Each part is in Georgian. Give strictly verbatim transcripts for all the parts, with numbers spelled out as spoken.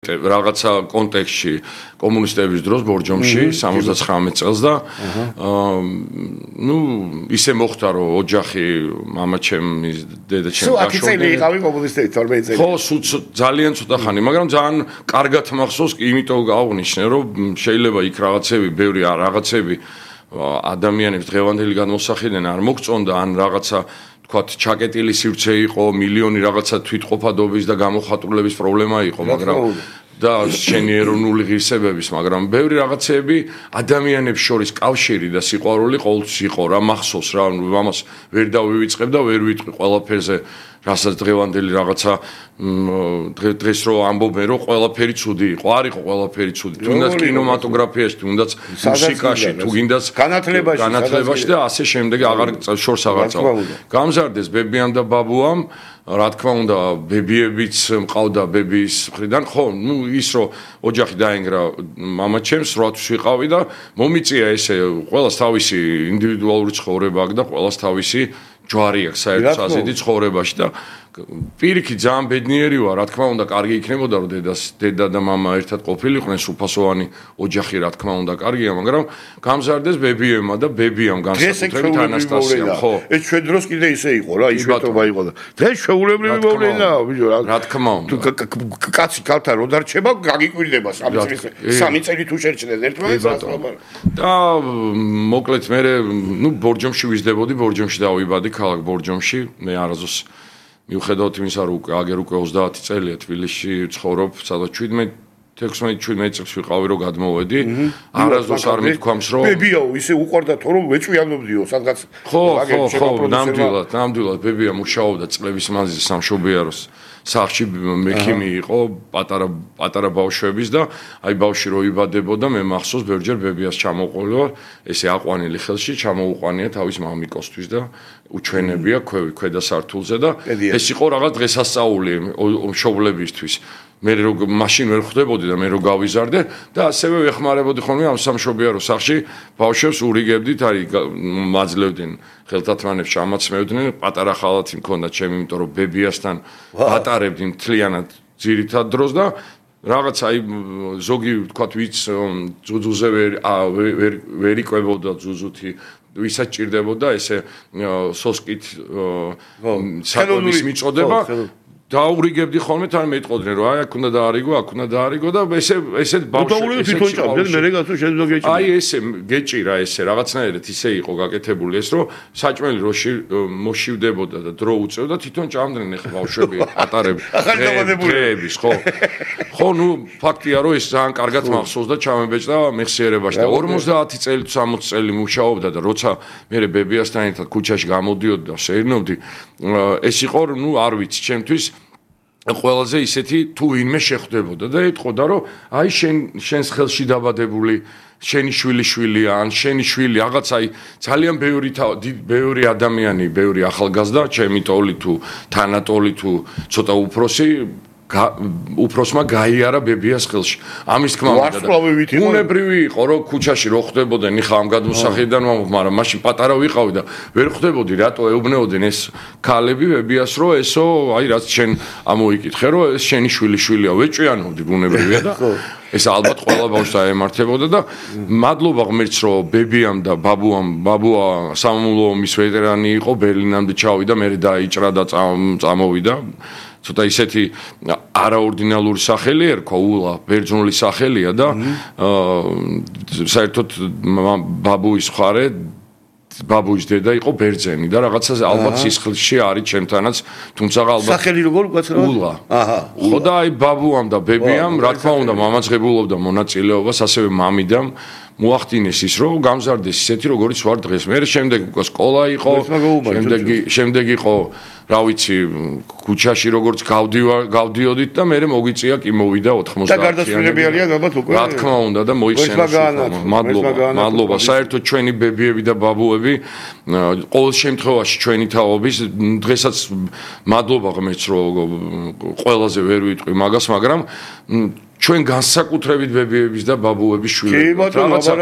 რაღაცა კონტექსტში კომუნისტების დროს ბორჯომში სამოცდაცხრამეტ წელს და ნუ ისე მოხდა რომ ოჯახი მამაჩემის დედაჩემ გაშორდა. სულ ათი წელი იყავი კომუნისტები თორმეტი წელი. ხო, ძალიან ცოტა ხანი, მაგრამ ძალიან კარგად მახსოვს, იმიტომ გავუნიშნე რომ შეიძლება იქ რაღაცები, ბევრი რაღაცები ადამიანებს დღევანდელი გადმოსახედიდან არ მოგწონდა ან რაღაცა თქვათ ჩაკეტილი სივრცე იყო, მილიონი რაღაცა თვითყოფადობის და გამოხატულების პრობლემა იყო, მაგრამ და შენი ეროვნული ღირსებების, მაგრამ ბევრი რაღაცები ადამიანებს შორის კავშირი და სიყვარული ყოველთვის იყო, რა მახსოვს რა, ამას ვერ დავივიწყებ და ვერ ვიტყვი ყველაფერზე, რასაც დღევანდელი რაღაცა დღეს რო ამბობენ რომ ყველაფერი ცუდი იყო, არ იყო ყველაფერი ცუდი. თუნდაც კინემატოგრაფიაში, თუნდაც მუსიკაში, თუ გინდაც განათლებაში, განათლებაში და ასე შემდეგ აღარ შორს აღარ წავა. გამზარდეს ბებიამ და ბაბუამ, რა თქმა უნდა, ბებიებიც მყავდა ბებიის მხრიდან, ხო, ნუ ის რომ ოჯახი დაენგრა მამაჩემს, როათვის ვიყავი და მომიწია ესე, ყველას თავისი ინდივიდუალური ცხოვრება აქვს და ყველას თავისი ჯვარი აქვს საერთო საზედი ცხოვრებაში და პირიქით ძალიან ბედნიერი ვარ, რა თქმა უნდა, კარგი იქნებოდა რომ დედას, დედა და მამა ერთად ყოფილიყვნენ, სრულფასოვანი ოჯახი, რა თქმა უნდა, კარგია, მაგრამ გამზარდეს ბებიებმა და ბებიამ განსაკუთრებით ანასტასიამ, ხო. ეს ჩვენ დროს კიდე ისე იყო რა, იშვიათობა იყო და დღეს ჩვეულებრივი მოვლენაა, ბიჭო, რა თქმა უნდა. კაცი ქალთან რო დარჩება, გაგიკვირდება სამი წელი, სამი წელი თუ შერჩნეს ერთმანეთს. და მოკლედ მე ნუ ბორჯომში ვიზრდებოდი, ბორჯომში დავიბადი, ქალაქ ბორჯომში, მე არაზოს მიუხედავად იმისა, რომ აგერ უკვე ოცდაათი წელია თბილისში ცხოვრობ, სადაც თექვსმეტ შვიდმეტ წელს ვიყავი რომ გადმოვედი. არასდროს არ მithქვამს რომ ბებიაო, ისე უყვარდა თო რომ ვეჭვიანობდიო, სადღაც ხო, ხო, ხო, ნამდვილად, ნამდვილად ბებია მუშაობდა წლების მანძილზე სამშობიაროს სახლში მექიმი იყო, პატარა პატარა ბავშვების და აი ბავშვი რო იბადებოდა, მე მახსოვს ბევრჯერ ბებიას ჩამოყოლვა, ესე აყვანილი ხელში ჩამოუყვანია თავის მამიკოსთვის და უჩვენებია ქვევი ქვედა სართულზე და ეს იყო რაღაც დღესასწაული მშობლებისთვის. მე რო მაშინ ვერ ხვდებოდი და მე რო გავიზარდე და ასევე ვეხმარებოდი ხოლმე ამ სამშობიარო სახლში ბავშვებს ურიგებდით, არის მაძლევდნენ ხელთათმანებს ჩამაცმევდნენ, პატარა ხალათი მქონდა ჩემი, იმიტომ რომ ბებიასთან ვატარებდი მთლიანად ძირითად დროს და რაღაც აი ზოგი ვთქვათ ვიც ძუძუზე ვერ ვერ ვერ იკვებოდა ძუძუთი ვისაც ჭირდებოდა ესე სოსკით საკვების მიწოდება დაურიგებდი ხოლმე თან მეტყოდნენ რომ აი აქ უნდა დაარიგო, აქ უნდა დაარიგო და ესე ესეთ ბავშვებს თვითონ ჭამდნენ, მე რეგაცო შეძლო გეჭირა. აი ესე გეჭირა ესე რაღაცნაირად ისე იყო გაკეთებული ეს რომ საჭმელი რო მოშივდებოდა და დრო უწევდა თვითონ ჭამდნენ ახლა ბავშვები ატარები. ახალგაზრდების ხო. ხო, ნუ ფაქტია რომ ეს ძალიან კარგად მახსოვს და ჩამებეჭდა მეხსიერებაში და ორმოცდაათი წელი თუ სამოცი წელი მუშაობდა და როცა მე ბებიასთან ერთად ქუჩაში გამოდიოდი და შეერნოვდი, ეს იყო ნუ არ ვიცი ჩემთვის ყველაზე ისეთი თუ ვინმე შეხვდებოდა და ეთყოდა რომ აი შენ შენს ხელში დაბადებული შენი შვილი შვილია ან შენი შვილი რაღაც აი ძალიან ბევრი ბევრი ადამიანი, ბევრი ახალგაზრდა, ჩემი ტოლი თუ თანატოლი თუ ცოტა უფროსი უფროსმა გაიარა ბებიას ხელში. ამის თქმა უნდა უნებრივი იყო რომ ქუჩაში რო ხვდებოდნენ, იხა ამ გადმოსახედიდან ვამბობ, მაგრამ მაშინ პატარა ვიყავი და ვერ ხვდებოდი რატო ეუბნეოდნენ ეს ქალები ბებიას რომ ესო აი რაც შენ ამოიკითხე რომ ეს შენი შვილი შვილია, ვეჭვიანობდი უნებრივია და ეს ალბათ ყველა ბავშვს დაემართებოდა და მადლობა ღმერთს რომ ბებიამ და ბაბუამ, ბაბუა სამამულო ომის ვეტერანი იყო, ბერლინამდე ჩავიდა, მე დაიჭრა და წამოვიდა. ცოტა ისეთი არაორდინალური სახელი ერქვა, ულა, ბერძნული სახელია და საერთოდ ბაბუის მხარე, ბაბუის დედა იყო ბერძენი და რაღაცა ალბათ სისხლში არის ჩემთანაც, თუმცა ალბათ სახელი როგორ უკაცრავად? ულა. აჰა. ხო და აი ბაბუამ და ბებიამ, რა თქმა უნდა, მამაძღებულობდა მონაწილეობას, ასევე მამიდამ მოახდინეს ის რომ გამზარდეს ისეთი როგორიც ვარ დღეს. მე შემდეგ უკვე სკოლა იყო, შემდეგი შემდეგი იყო რა ვიცი ქუჩაში როგორც გავდიოდით და მე მოგვიწია კი მოვიდა ოთხმოცდაათი. და გარდაცვლილები არიან ალბათ უკვე. რა თქმა უნდა და მოიხსენეს. მადლობა, მადლობა. საერთოდ ჩვენი ბებიები და ბაბუები ყოველ შემთხვევაში ჩვენი თაობის დღესაც მადლობა ღმერთს რომ ყველაზე ვერ ვიტყვი მაგას, მაგრამ ჩვენ განსაკუთრებით ბებიების და ბაბუების შვილები ვართ. რაღაცა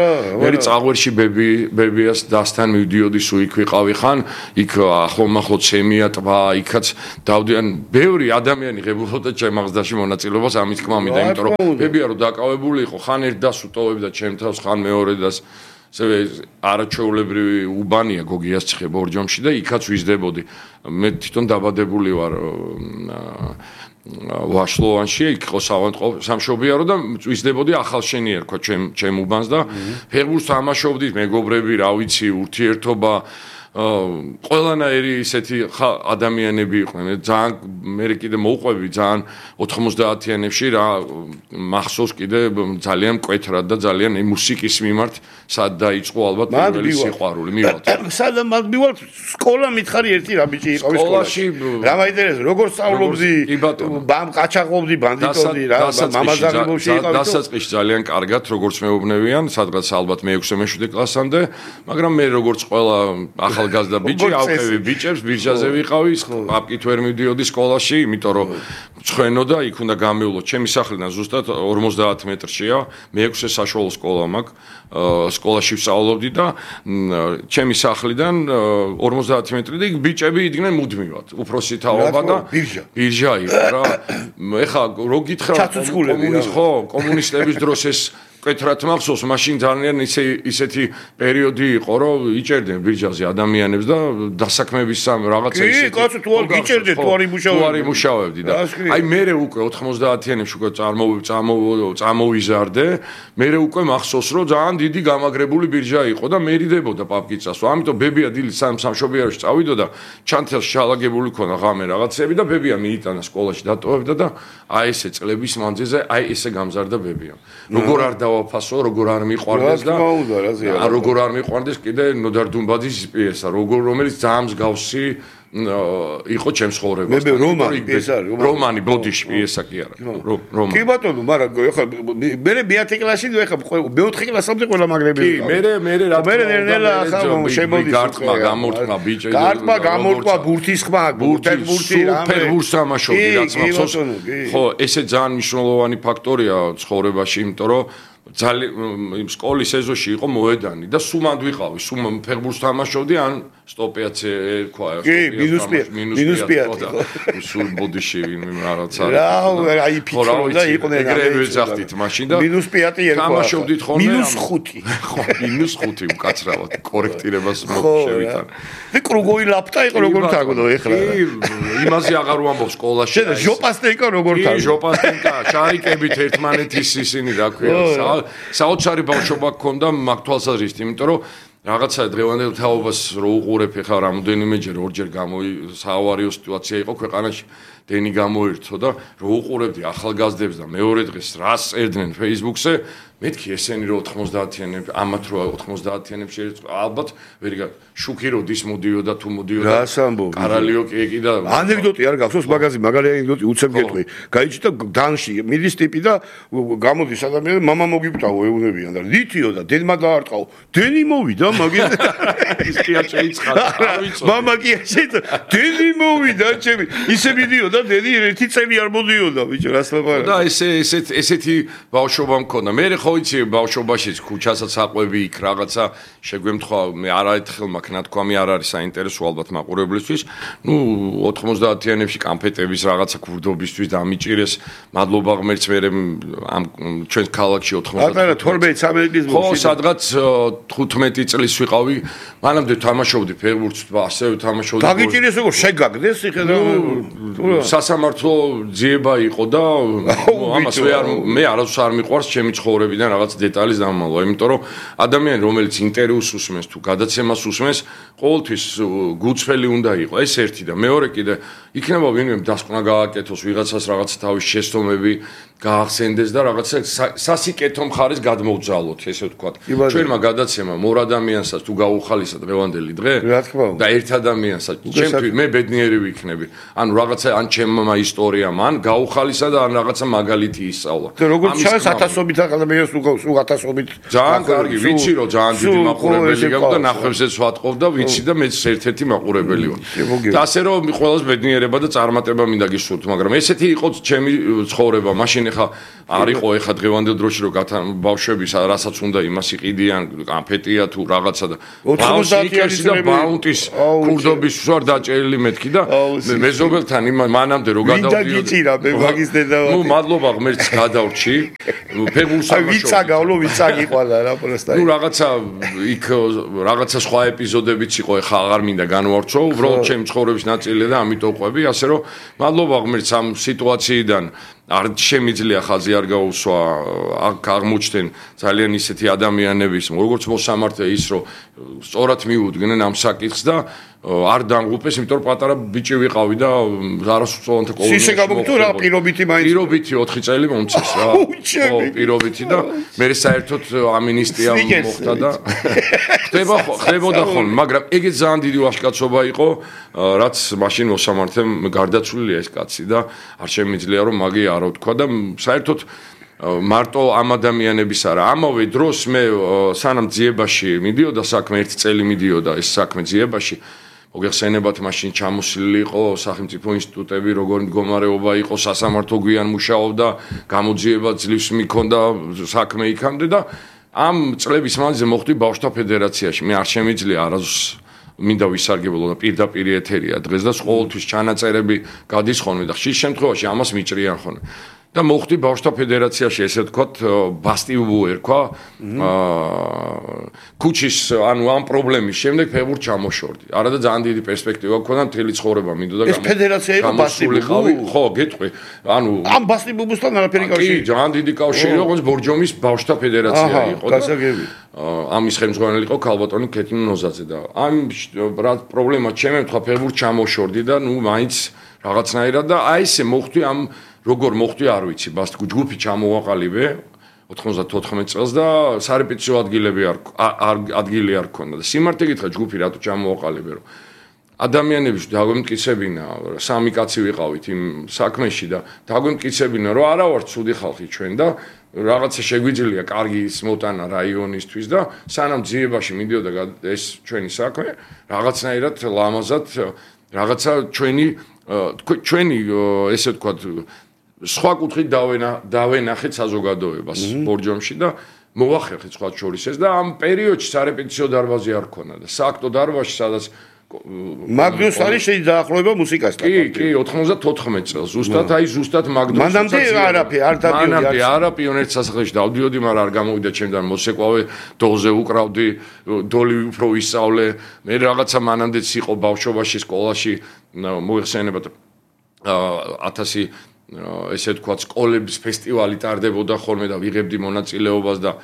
მე წაღვერში ბები ბებიას დასთან მივდიოდი, სულ იქ ვიყავი ხან, იქ ახლომახლო ცემია ტბა, იქაც დავდიან ბევრი ადამიანი ღებულობდა ჩემ აღზრდაში მონაწილეობას ამის თქმა მინდა, იმიტომ რომ ბებია რო დაკავებული იყო, ხან ერთ დას უტოვებდა ჩემ თავს, ხან მეორე დას ასევე არაჩვეულებრივი უბანია გოგიას ცხე ბორჯომში და იქაც ვიზდებოდი. მე თვითონ დაბადებული ვარ ვაშლოვანში, იქ იყო სამშობიარო და ვიზდებოდი ახალშენი ერქვა ჩემ ჩემ უბანს და ფეხბურთს თამაშობდით, მეგობრები, რა ვიცი, ურთიერთობა ყველანაირი ისეთი ადამიანები იყვნენ. ძალიან მე კიდე მოვყვები ძალიან ოთხმოცდაათიანებში რა მახსოვს კიდე ძალიან მკვეთრად და ძალიან მუსიკის მიმართ სად დაიწყო ალბათ პირველი სიყვარული მივალთ. სად მივალთ სკოლა მითხარი ერთი რა ბიჭი იყო სკოლაში. რა მაინტერესებს როგორ სწავლობდი? ბამ ყაჩაღობდი, ბანდიტობდი რა მამაზაღებულში იყავი. დასაწყისში ძალიან კარგად როგორც მეუბნევიან, სადღაც ალბათ მეექვსე მეშვიდე კლასამდე, მაგრამ მე როგორც ყველა ახალგაზრდა ბიჭი ავყევი ბიჭებს ბირჟაზე ვიყავი, აპკით ვერ მივდიოდი სკოლაში, იმიტომ რომ ცხენო და იქ უნდა გამივლო. ჩემი სახლიდან ზუსტად ორმოცდაათ მეტრშია, მეექვსე საშუალო სკოლა მაქვს, სკოლაში ვსწავლობდი და ჩემი სახლიდან ორმოცდაათი მეტრი და იქ ბიჭები იდგნენ მუდმივად. უფროსი თაობა და ბირჟა. ბირჟა იყო რა. ეხლა რო გითხრა კომუნის ხო, კომუნისტების დროს ეს კეთრად მახსოვს, მაშინ ძალიან ისე ისეთი პერიოდი იყო, რომ იჭერდნენ ბირჟაზე ადამიანებს და დასაქმების სამ რაღაცა ისეთი. კი, კაცო, თუ არ გიჭერდეთ, თუ არ იმუშავებდი. თუ არ იმუშავებდი და აი მე უკვე ოთხმოცდაათიანებში უკვე წამოვიზარდე, მე უკვე მახსოვს, რომ ძალიან დიდი გამაგრებული ბირჟა იყო და მერიდებოდა პაპკიცას. ამიტომ ბებია დილით სამშობიაროში წავიდოდა, ჩანთელში ჩალაგებული ქონა ღამე რაღაცები და ბებია მიიტანა სკოლაში დატოვებდა და აი ესე წლების მანძილზე აი ესე გამზარდა ბებია. როგორ არ დავაფასო, როგორ არ მიყვარდეს და როგორ არ მიყვარდეს კიდე ნოდარ დუმბაძის პიესა, როგორ რომელიც ძალიან მსგავსი იყო ჩემს ცხოვრებასთან. მე რომანი პიესა, რომანი ბოდიში პიესა კი არა. რომანი. კი ბატონო, მაგრამ ეხლა მე მეათე კლასში ეხლა მეოთხე კლასამდე ყველა მაგრები კი, მე მე რა მე ნელა ახლა შემოდის გარტყმა, გამორტყმა ბიჭი. გარტყმა, გამორტყმა, ბურთის ხმა, ბურთის ბურთი რა. ფეხბურთს თამაშობდი, რაც მახსოვს. ხო, ესე ძალიან მნიშვნელოვანი ფაქტორია ცხოვრებაში, იმიტომ რომ ძალიან სკოლის ეზოში იყო მოედანი და სუმად ვიყავი, სუმ ფეხბურთს თამაშობდი, ან სტოპიაცე ერქვა, სტოპიაც მინუს პიატი. სულ ბოდიში რაღაცა. რა, აი ფიქრო და იყვნენ ეგრევე ვეძახდით მაშინ და მინუს პიატი ერქვა. თამაშობდით ხოლმე მინუს ხუთი. ხო, მინუს ხუთი უკაცრავად კორექტირებას მოვშევიდან. და კრუგოვი ლაპტა იყო როგორ თაგდო ეხლა. კი, იმაზე აღარ ვამბობ სკოლაში. შენ ჟოპასტენკა როგორ თაგდო? კი, ჟოპასტენკა, შარიკებით ერთმანეთის ისინი რა ქვია. საოცარი ბავშვობა გქონდა მაგ თვალსაზრისით, იმიტომ რომ რაღაცა დღევანდელ თაობას რო უყურებ ხა რამოდენიმეჯერ ორჯერ გამოი საავარიო სიტუაცია იყო ქვეყანაში დენი გამოირთო და რო უყურებდი ახალგაზრდებს და მეორე დღეს რას წერდნენ Facebook-ზე მეთქი ესენი რო ოთხმოცდაათიანებში ამათ რო ოთხმოცდაათიანებში ალბათ ვერიგა შუქი როდის მოდიოდა თუ მოდიოდა რას ამბობ კარალიო კი და ანეკდოტი არ გახსოვს მაგაზი მაგარი ანეკდოტი უცებ გეტყვი გაიჭდა დანში მიდის ტიპი და გამოდის ადამიანი მამა მოგიკვდაო ეუნებიან და ლითიო და დენმა დაარტყაო დენი მოვიდა მაგის ის კი არ შეიცხადა არ ვიცოდი მამა კი შეიცხადა დენი მოვიდა ჩემი ისე მიდიოდა დენი ერთი წელი არ მოდიოდა ბიჭო რას ლაპარაკობ და ესე ესეთ ესეთი ბავშვობა მქონდა მე ხო იცი ბავშვობაში ქუჩასაც აყვები იქ რაღაცა შეგვემთხვა მე არაერთხელ მაქვს ნათქვამი არ არის საინტერესო ალბათ მაყურებლისთვის ნუ ოთხმოცდაათიანებში კამფეტების რაღაცა ქურდობისთვის დამიჭირეს მადლობა ღმერთს მე ამ ჩვენს ქალაქში ოთხმოცდაათი თორმეტი სამი ხო სადღაც თხუთმეტი წლის ვიყავი მანამდე თამაშობდი ფეხბურთს ასევე თამაშობდი დაგიჭირეს როგორ შეგაგდეს ხედა სასამართლო ძიება იყო და ამას მე არასდროს არ მიყვარს ჩემი ცხოვრება და რაღაც დეტალის დამალვა, იმიტომ რომ ადამიანი რომელიც ინტერვიუს უსმენს თუ გადაცემას უსმენს, ყოველთვის გუწფელი უნდა იყოს. ეს ერთი და მეორე კიდე იქნება ვინმე დასკვნა გააკეთოს, ვიღაცას რაღაც თავის შეცდომები გაახსენდეს და რაღაცა სასიკეთო მხარეს გადმოვძალოთ, ესე ვთქვათ. ჩვენმა გადაცემა მორ ადამიანსაც თუ გაუხალისა დღევანდელი დღე და ერთ ადამიანსაც, ჩემთვის მე ბედნიერი ვიქნები. ანუ რაღაცა ან ჩემმა ისტორიამ ან გაუხალისა და ან რაღაცა მაგალითი ისწავლა. როგორც ჩანს ათასობით ადამიანს სულ ათასობით ძალიან კარგი, ვიცი რომ ძალიან დიდი მაყურებელი გაქვს და ნახვებზეც ვატყობ და ვიცი და მეც ერთ-ერთი მაყურებელი ვარ. და ასე რომ ყველას ბედნიერება და წარმატება მინდა გისურვოთ, მაგრამ ესეთი იყო ჩემი ცხოვრება. მაშინ ეხა არ იყო ეხა დღევანდელ დროში რომ ბავშვების რასაც უნდა იმას იყიდიან, კანფეტია თუ რაღაცა და ოცდაათი და ბაუნტის კურდობის ვარ დაჭერილი მეთქი და მეზობელთან მანამდე რო გადავდიოდი. მინდა გიწირა მე მაგის დედავატი. ნუ მადლობა ღმერთს გადავრჩი. ფეგულს აი ვიცა გავლო ვიცა გიყვანა რა პროსტა. ნუ რაღაცა იქ რაღაცა სხვა ეპიზოდებიც იყო, ეხა აღარ მინდა განვარჩო, უბრალოდ ჩემი ცხოვრების ნაწილია და ამიტომ ყვები, ასე რომ მადლობა ღმერთს ამ სიტუაციიდან არ შემიძლია ხაზი არ გაუსვა, აქ აღმოჩნდნენ ძალიან ისეთი ადამიანების, როგორც მოსამართლე ის, რომ სწორად მიუდგნენ ამ საკითხს და არ დამღუპეს, იმიტომ რომ პატარა ბიჭი ვიყავი და არასწორანთა კოლონიაში. ისე გამოგთო რა პირობითი მაინც. პირობითი ოთხი წელი მომწეს რა. ხო, პირობითი და მე საერთოდ ამინისტია მოხდა და ხდება ხდებოდა ხოლმე, მაგრამ ეგეც ძალიან დიდი ვაჟკაცობა იყო, რაც მაშინ მოსამართლემ გარდაცვლილია ეს კაცი და არ შემიძლია რომ მაგი არ ვთქვა და საერთოდ მარტო ამ ადამიანების არა. ამავე დროს მე სანამ ძიებაში მიდიოდა საქმე, ერთი წელი მიდიოდა ეს საქმე ძიებაში. მოგეხსენებათ მაშინ ჩამოსილი იყო სახელმწიფო ინსტიტუტები, როგორ მდგომარეობა იყო, სასამართლო გვიან მუშაობდა, გამოძიება ძლივს მიქონდა საქმე იქამდე და ამ წლების მანძილზე მოხვდი ბავშვთა ფედერაციაში. მე არ შემიძლია არასდროს მინდა ვისარგებლო და პირდაპირ ეთერია დღეს და ყოველთვის ჩანაწერები გადის ხოლმე და ხშირ შემთხვევაში ამას მიჭრიან ხოლმე. და მოხვდი ბავშვთა ფედერაციაში, ესე ვთქვათ, ბასტიუბუ ერქვა. აა ქუჩის, ანუ ამ პრობლემის შემდეგ ფეხბურთს ჩამოშორდი. არა და ძალიან დიდი პერსპექტივა გქონდა, მთელი ცხოვრება მინდოდა გამო. ეს ფედერაცია იყო ბასტიუბუ? ხო, გეტყვი. ანუ ამ ბასტიუბუსთან არაფერი კავშირი? კი, ძალიან დიდი კავშირი იყო, ბორჯომის ბავშვთა ფედერაცია იყო და გასაგები. ამის ხელმძღვანელი იყო ქალბატონი ქეთინო ნოზაძე და ამ რა პრობლემა ჩემი თქვა ფეხბურთს ჩამოშორდი და ნუ მაინც რაღაცნაირად და აი ესე მოხვდი ამ როგორ მოხვდი არ ვიცი, ბას ჯგუფი ჩამოვაყალიბე ოთხმოცდათოთხმეტ წელს და სარეპეტიციო ადგილები არ ადგილი არ ქონდა და სიმართლე გითხრა ჯგუფი რატო ჩამოვაყალიბე რომ ადამიანებს დაგვემტკიცებინა, სამი კაცი ვიყავით იმ საქმეში და დაგვემტკიცებინა რომ არა ვარ ცუდი ხალხი ჩვენ და რაღაცა შეგვიძლია კარგი მოტანა რაიონისთვის და სანამ ძიებაში მიდიოდა ეს ჩვენი საქმე, რაღაცნაირად ლამაზად რაღაცა ჩვენი ჩვენი ესე ვთქვათ სხვა კუთხით დავენახეთ საზოგადოებას ბორჯომში და მოვახერხეთ სხვა შორის ეს და ამ პერიოდში სარეპეტიციო დარბაზი არ ქონდა და სააქტო დარბაზში სადაც მაგდროს არის შეი დაახლოება მუსიკასთან. კი, კი, ოთხმოცდათოთხმეტ წელს. ზუსტად აი ზუსტად მაგდროს. მანამდე არაფერი არ დავდიოდი. მანამდე არა პიონერთა სასახლეში დავდიოდი, მაგრამ არ გამოვიდა ჩემთან მოსეკვავე, დოლზე უკრავდი, დოლი უფრო ვისწავლე. მე რაღაცა მანამდეც იყო ბავშვობაში სკოლაში, მოიხსენებათ ათასი ესე ვთქვათ სკოლების ფესტივალი ტარდებოდა ხოლმე და ვიღებდი მონაწილეობას და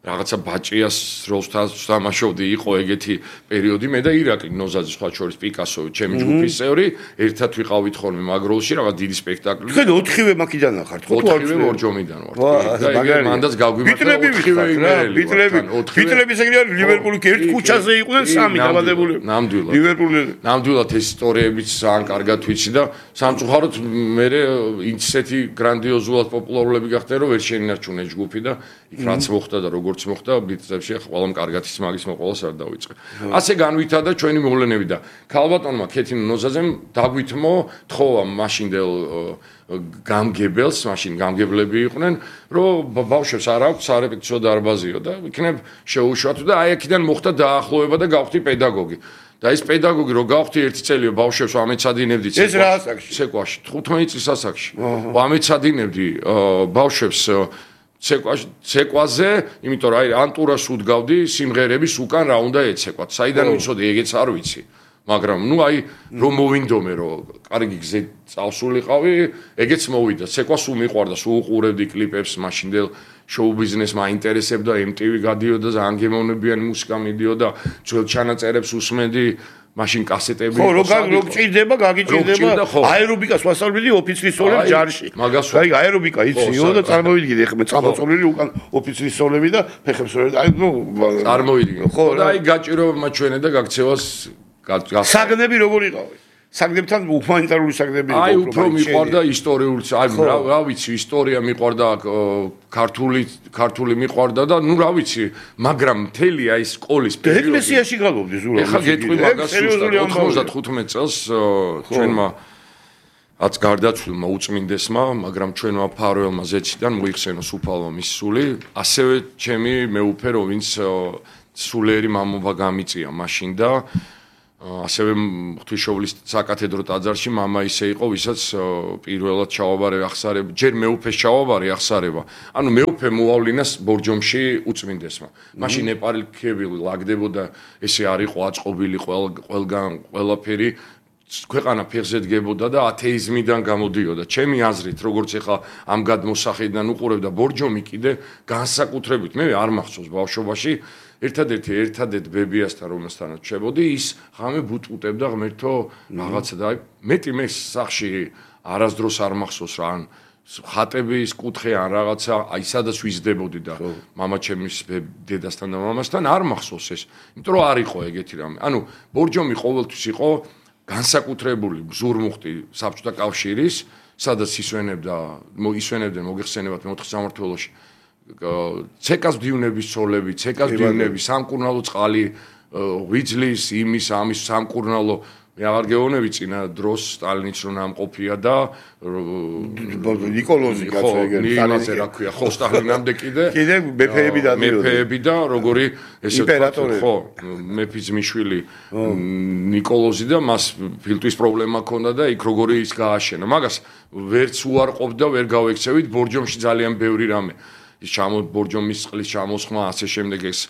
რაღაცა ბაჭიას როლს თამაშობდი, იყო ეგეთი პერიოდი მე და ირაკლი ნოზაძე სხვა შორის პიკასო, ჩემი ჯგუფის წევრი, ერთად ვიყავით ხოლმე მაგ როლში, რაღაც დიდი სპექტაკლი. თქვენ ოთხივე მაქედან ხართ, ხო? ოთხივე ბორჯომიდან ვართ. და ეგ მანდაც გავგვიმართლა ოთხივე იმერელი. ბიტრები, ბიტრები ეგრე არის ლივერპული ერთ ქუჩაზე იყვნენ სამი დაბადებული. ნამდვილად. ლივერპული. ნამდვილად ეს ისტორიებიც ძალიან კარგად ვიცი და სამწუხაროდ მე ისეთი გრანდიოზულად პოპულარულები გახდნენ, რომ ვერ შეინარჩუნე ჯგუფი და იქ რაც მოხდა და როგორც მოხდა ბიტსებში ყველამ კარგად ის მაგის მოყოლას არ დავიწყე. ასე განვითარდა ჩვენი მოვლენები და ქალბატონმა ქეთინო ნოზაძემ დაგვითმო თხოვა მაშინდელ გამგებელს, მაშინ გამგებლები იყვნენ, რომ ბავშვებს არ აქვს სარეპეტიციო დარბაზიო და იქნებ შეუშვათ და აი აქედან მოხდა დაახლოება და გავხდი პედაგოგი. და ეს პედაგოგი რო გავხდი ერთი წელიო ბავშვებს ამეცადინებდი ეს რა ასაკში? ცეკვაში, თხუთმეტი წლის ასაკში. ამეცადინებდი ბავშვებს ცეკვაში, ცეკვაზე, იმიტომ რომ აი ანტურას უდგავდი სიმღერების უკან რა უნდა ეცეკვათ. საიდან ვიცოდი, ეგეც არ ვიცი. მაგრამ ნუ აი რომ მოვინდომე რომ კარგი გზით წავსულიყავი, ეგეც მოვიდა. ცეკვას უმიყვარდა, სულ უყურებდი კლიპებს, მაშინდელ შოუ ბიზნეს მაინტერესებდა, ემ ტი ვი გადიოდა, ძალიან გემოვნებიანი მუსიკა მიდიოდა, ძველ ჩანაწერებს უსმენდი. მაშინ კასეტები ხო რო რო გჭირდება გაგიჭირდება აერობიკას ვასწავლები ოფიცრის სწავლები ჯარში აი აერობიკა იციო და წარმოვიდგინე ხმე წამოწოლილი უკან ოფიცრის სწავლები და ფეხებს სწავლები აი ნუ წარმოვიდგინე ხო და აი გაჭიროება ჩვენე და გაქცევას საგნები როგორ იყავი საგდებთან ჰუმანიტარული საგდები იყო. აი უფრო მიყვარდა ისტორიული, აი რა ვიცი, ისტორია მიყვარდა, ქართული ქართული მიყვარდა და ნუ რა ვიცი, მაგრამ მთელი აი სკოლის პერიოდი ეკლესიაში გალობდი ზურაბ. ეხლა გეტყვი მაგას ოცდახუთმეტ წელს ჩვენმა აც გარდაცვლილმა უწმინდესმა, მაგრამ ჩვენმა ფარველმა ზეციდან მოიხსენოს უფალმა მის სული, ასევე ჩემი მეუფე რო ვინც სულიერი მამობა გამიწია მაშინ და ასევე ღვთისმშობლის საკათედრო ტაძარში მამა ისე იყო, ვისაც პირველად ჩავაბარე ახსარება, ჯერ მეუფეს ჩავაბარე ახსარება. ანუ მეუფე მოავლინას ბორჯომში უწმინდესმა. მაშინ ეპარქიები ლაგდებოდა, ესე არ იყო აწყობილი ყველგან ყველაფერი ქვეყანა ფეხზე დგებოდა და ათეიზმიდან გამოდიოდა. ჩემი აზრით, როგორც ეხლა ამ გადმოსახედიდან უყურებდა ბორჯომი კიდე განსაკუთრებით მე არ მახსოვს ბავშვობაში ერთადერთი ერთადერთ ბებიასთან რომელსთანაც შევოდი ის ღამე ბუტუტებდა ღმერთო რაღაცა და მეტი მე სახში არასდროს არ მახსოვს რა ან ხატების კუთხე ან რაღაცა აი სადაც ვიზდებოდი და მამაჩემის დედასთან და მამასთან არ მახსოვს ეს იმიტომ რომ არ იყო ეგეთი რამე ანუ ბორჯომი ყოველთვის იყო განსაკუთრებული ზურმუხტი საბჭოთა კავშირის სადაც ისვენებდა ისვენებდნენ მოგეხსენებათ მეოთხე სამმართველოში ცეკას მდივნების ცოლები, ცეკას მდივნები, სამკურნალო წყალი, ღვიძლის, იმის, ამის სამკურნალო მე აღარ გეუბნები წინა დროს სტალინიც რომ ამყოფია და ნიკოლოზი კაცო ეგრე სტალინზე რა ქვია ხო სტალინამდე კიდე კიდე მეფეები და მეფეები და როგორი ესე ხო მეფის მიშვილი ნიკოლოზი და მას ფილტვის პრობლემა ჰქონდა და იქ როგორი ის გააშენა მაგას ვერც უარყოფდა ვერ გავექცევით ბორჯომში ძალიან ბევრი რამე ის ჩამო ბორჯომის წყლის ჩამოსხმა ასე შემდეგ ეს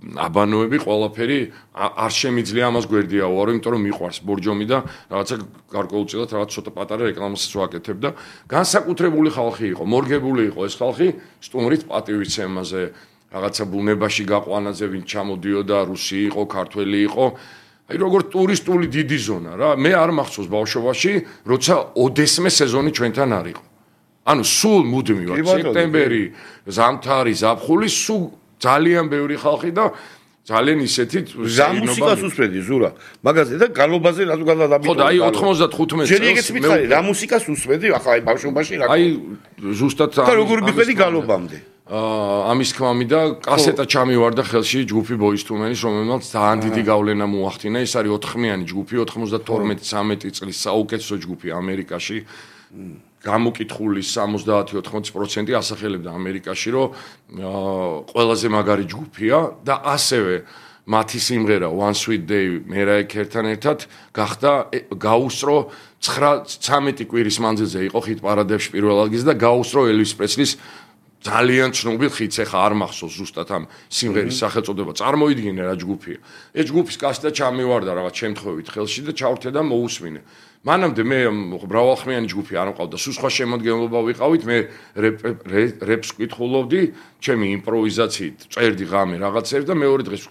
აბანოები ყველაფერი არ შემიძლია ამას გვერდია უარო იმიტომ რომ მიყვარს ბორჯომი და რაღაცა გარკვეულწილად რაღაც ცოტა პატარა რეკლამასაც ვაკეთებ და განსაკუთრებული ხალხი იყო მორგებული იყო ეს ხალხი სტუმრით პატივიცემაზე რაღაცა ბუნებაში გაყვანაზე ვინ ჩამოდიოდა რუსი იყო ქართველი იყო აი როგორ ტურისტული დიდი ზონა რა მე არ მახსოვს ბავშვობაში როცა ოდესმე სეზონი ჩვენთან არ იყო ანუ სულ მუდმივად სექტემბერი, ზამთარი, ზაფხული, სულ ძალიან ბევრი ხალხი და ძალიან ისეთი მუსიკას უსმენდი ზურა. მაგაზე და გალობაზე რატო გადადაბიტო. ხო და აი ოთხმოცდახუთმეტ წელს. ჯერ ეგეც მითხარი, რა მუსიკას უსმენდი ახლა აი ბავშვობაში რა. აი ზუსტად და როგორ მიყვედი გალობამდე. აა ამის თქმამი და კასეტა ჩამივარდა ხელში ჯგუფი Boyz two Men-ის, რომელმაც ძალიან დიდი გავლენა მოახდინა. ეს არის ოთხხმიანი ჯგუფი, ოთხმოცდათორმეტი ცამეტი წლის საუკეთესო ჯგუფი ამერიკაში. გამოკითხული სამოცდაათი ოთხმოცი პროცენტი ასახელებდა ამერიკაში, რომ ყველაზე მაგარი ჯგუფია და ასევე მათი სიმღერა One Sweet Day მერაე ქერთან ერთად გახდა გაუსწრო ცხრა-ცამეტი კვირის მანძილზე იყო ხით პარადებში პირველ ადგილზე და გაუსწრო ელვის პრესლის ძალიან ცნობილ ხიტს ეხა არ მახსოვს ზუსტად ამ სიმღერის სახელწოდება წარმოიდგინე რა ჯგუფია ეს ჯგუფის კასეტა ჩამივარდა რაღაც შემთხვევით ხელში და ჩავრთე და მოусმინე მანამდე მე მრავალხმიანი ჯგუფი არ მყავდა სულ სხვა შემოდგენილობა ვიყავით მე რეპს ვკითხულობდი ჩემი იმპროვიზაციით წერდი ღამე რაღაცებს და მეორე დღეს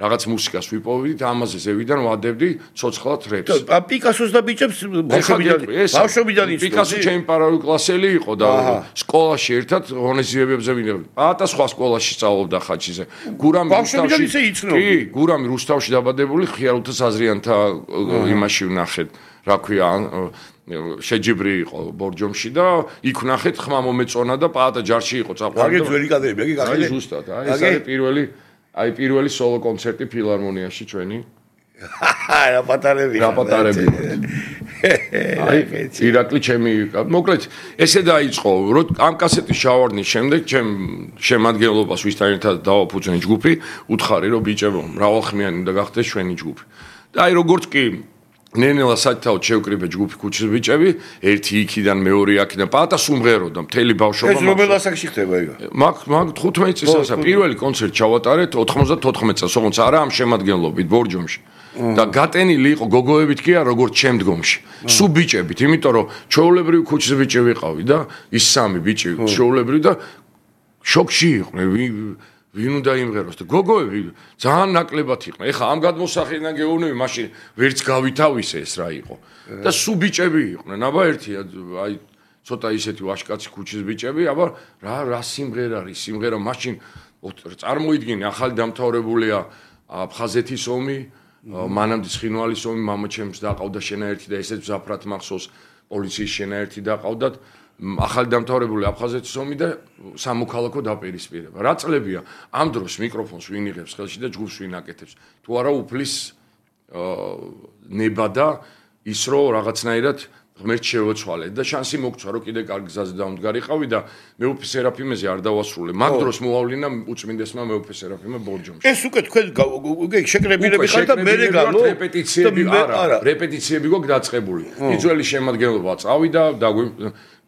რაღაც მუსიკას ვიპოვებდი ამაზე ზევიდან ვადებდი ცოცხლად რეპს პიკასოს და ბიჭებს ბავშვობიდან ბავშვობიდან ის პიკასო ჩემი პარალელკლასელი იყო და სკოლაში ერთად ღონისძიებებზე ვინებდი პატა სხვა სკოლაში სწავლობდა ხაჩიზე გურამი რუსთავში კი გურამი რუსთავში დაბადებული ხიარულთა საზრიანთა იმაში ვნახეთ რა ქვია შეჯიბრი იყო ბორჯომში და იქ ვნახეთ ხმა მომეწონა და პაატა ჯარში იყო წაყვანდა. აგე ძველი კადრები, იგი გახილე. აი ზუსტად, აი ეს არის პირველი, აი პირველი სოლო კონცერტი ფილარმონიაში ჩვენი. რა პატარები. რა პატარები. აი ირაკლი ჩემი, მოკლედ ესე დაიწყო, რომ ამ კასეტის შავარდნის შემდეგ ჩემ შემადგენლობას ვისთან ერთად დავაფუძნე ჯგუფი, უთხარი რომ ბიჭებო, მრავალხმიანი უნდა გახდეს ჩვენი ჯგუფი. და აი როგორც კი ნენელა საერთოდ შევკრიბე ჯგუფი ქუჩის ბიჭები, ერთი იქიდან მეორე აქედან პატა სუმღეროდა მთელი ბავშვობა. ეს რომელ ასაკში ხდება იგა? მაგ მაგ თხუთმეტ წელსა პირველი კონცერტი ჩავატარეთ ოთხმოცდათოთხმეტ წელს, ოღონდ არა ამ შემადგენლობით ბორჯომში. და გატენილი იყო გოგოებით კი არა როგორც შემდგომში. სუ ბიჭებით, იმიტომ რომ ჩვეულებრივი ქუჩის ბიჭი ვიყავი და ის სამი ბიჭი ჩვეულებრივი და შოკში იყვნენ. ვინ უნდა იმღეროს და გოგოები ძალიან ნაკლებად იყვნენ. ეხლა ამ გადმოსახედიდან გეუბნები, მაშინ ვერც გავითავისე ეს რა იყო. და სუ ბიჭები იყვნენ. აბა ერთი აი ცოტა ისეთი ვაშკაცი ქუჩის ბიჭები, აბა რა რა სიმღერა არის, სიმღერა მაშინ წარმოიდგინე ახალი დამთავრებულია აფხაზეთის ომი, მანამდე ცხინვალის ომი მამაჩემს დაყავდა შენაერთი და ესეც ზაფრად მახსოვს პოლიციის შენაერთი დაყავდათ ახალი დამთავრებული აფხაზეთის ომი და სამოქალაქო დაპირისპირება. რა წლებია ამ დროს მიკროფონს ვინ იღებს ხელში და ჯგუფს ვინ აკეთებს. თუ არა უფლის ნება და ის რომ რაღაცნაირად ღმერთს შევეცვალე და შანსი მოგცვა რომ კიდე კარგ გზაზე დავმდგარიყავი და მეუფე სერაფიმეზე არ დავასრულე. მაგ დროს მოავლინა უწმინდესმა მეუფე სერაფიმე ბორჯომში. ეს უკვე თქვენ შეკრებილები ხართ და მე რეგალო რეპეტიციები არა, რეპეტიციები გვაქვს დაწყებული. იძველი შემადგენლობა წავიდა და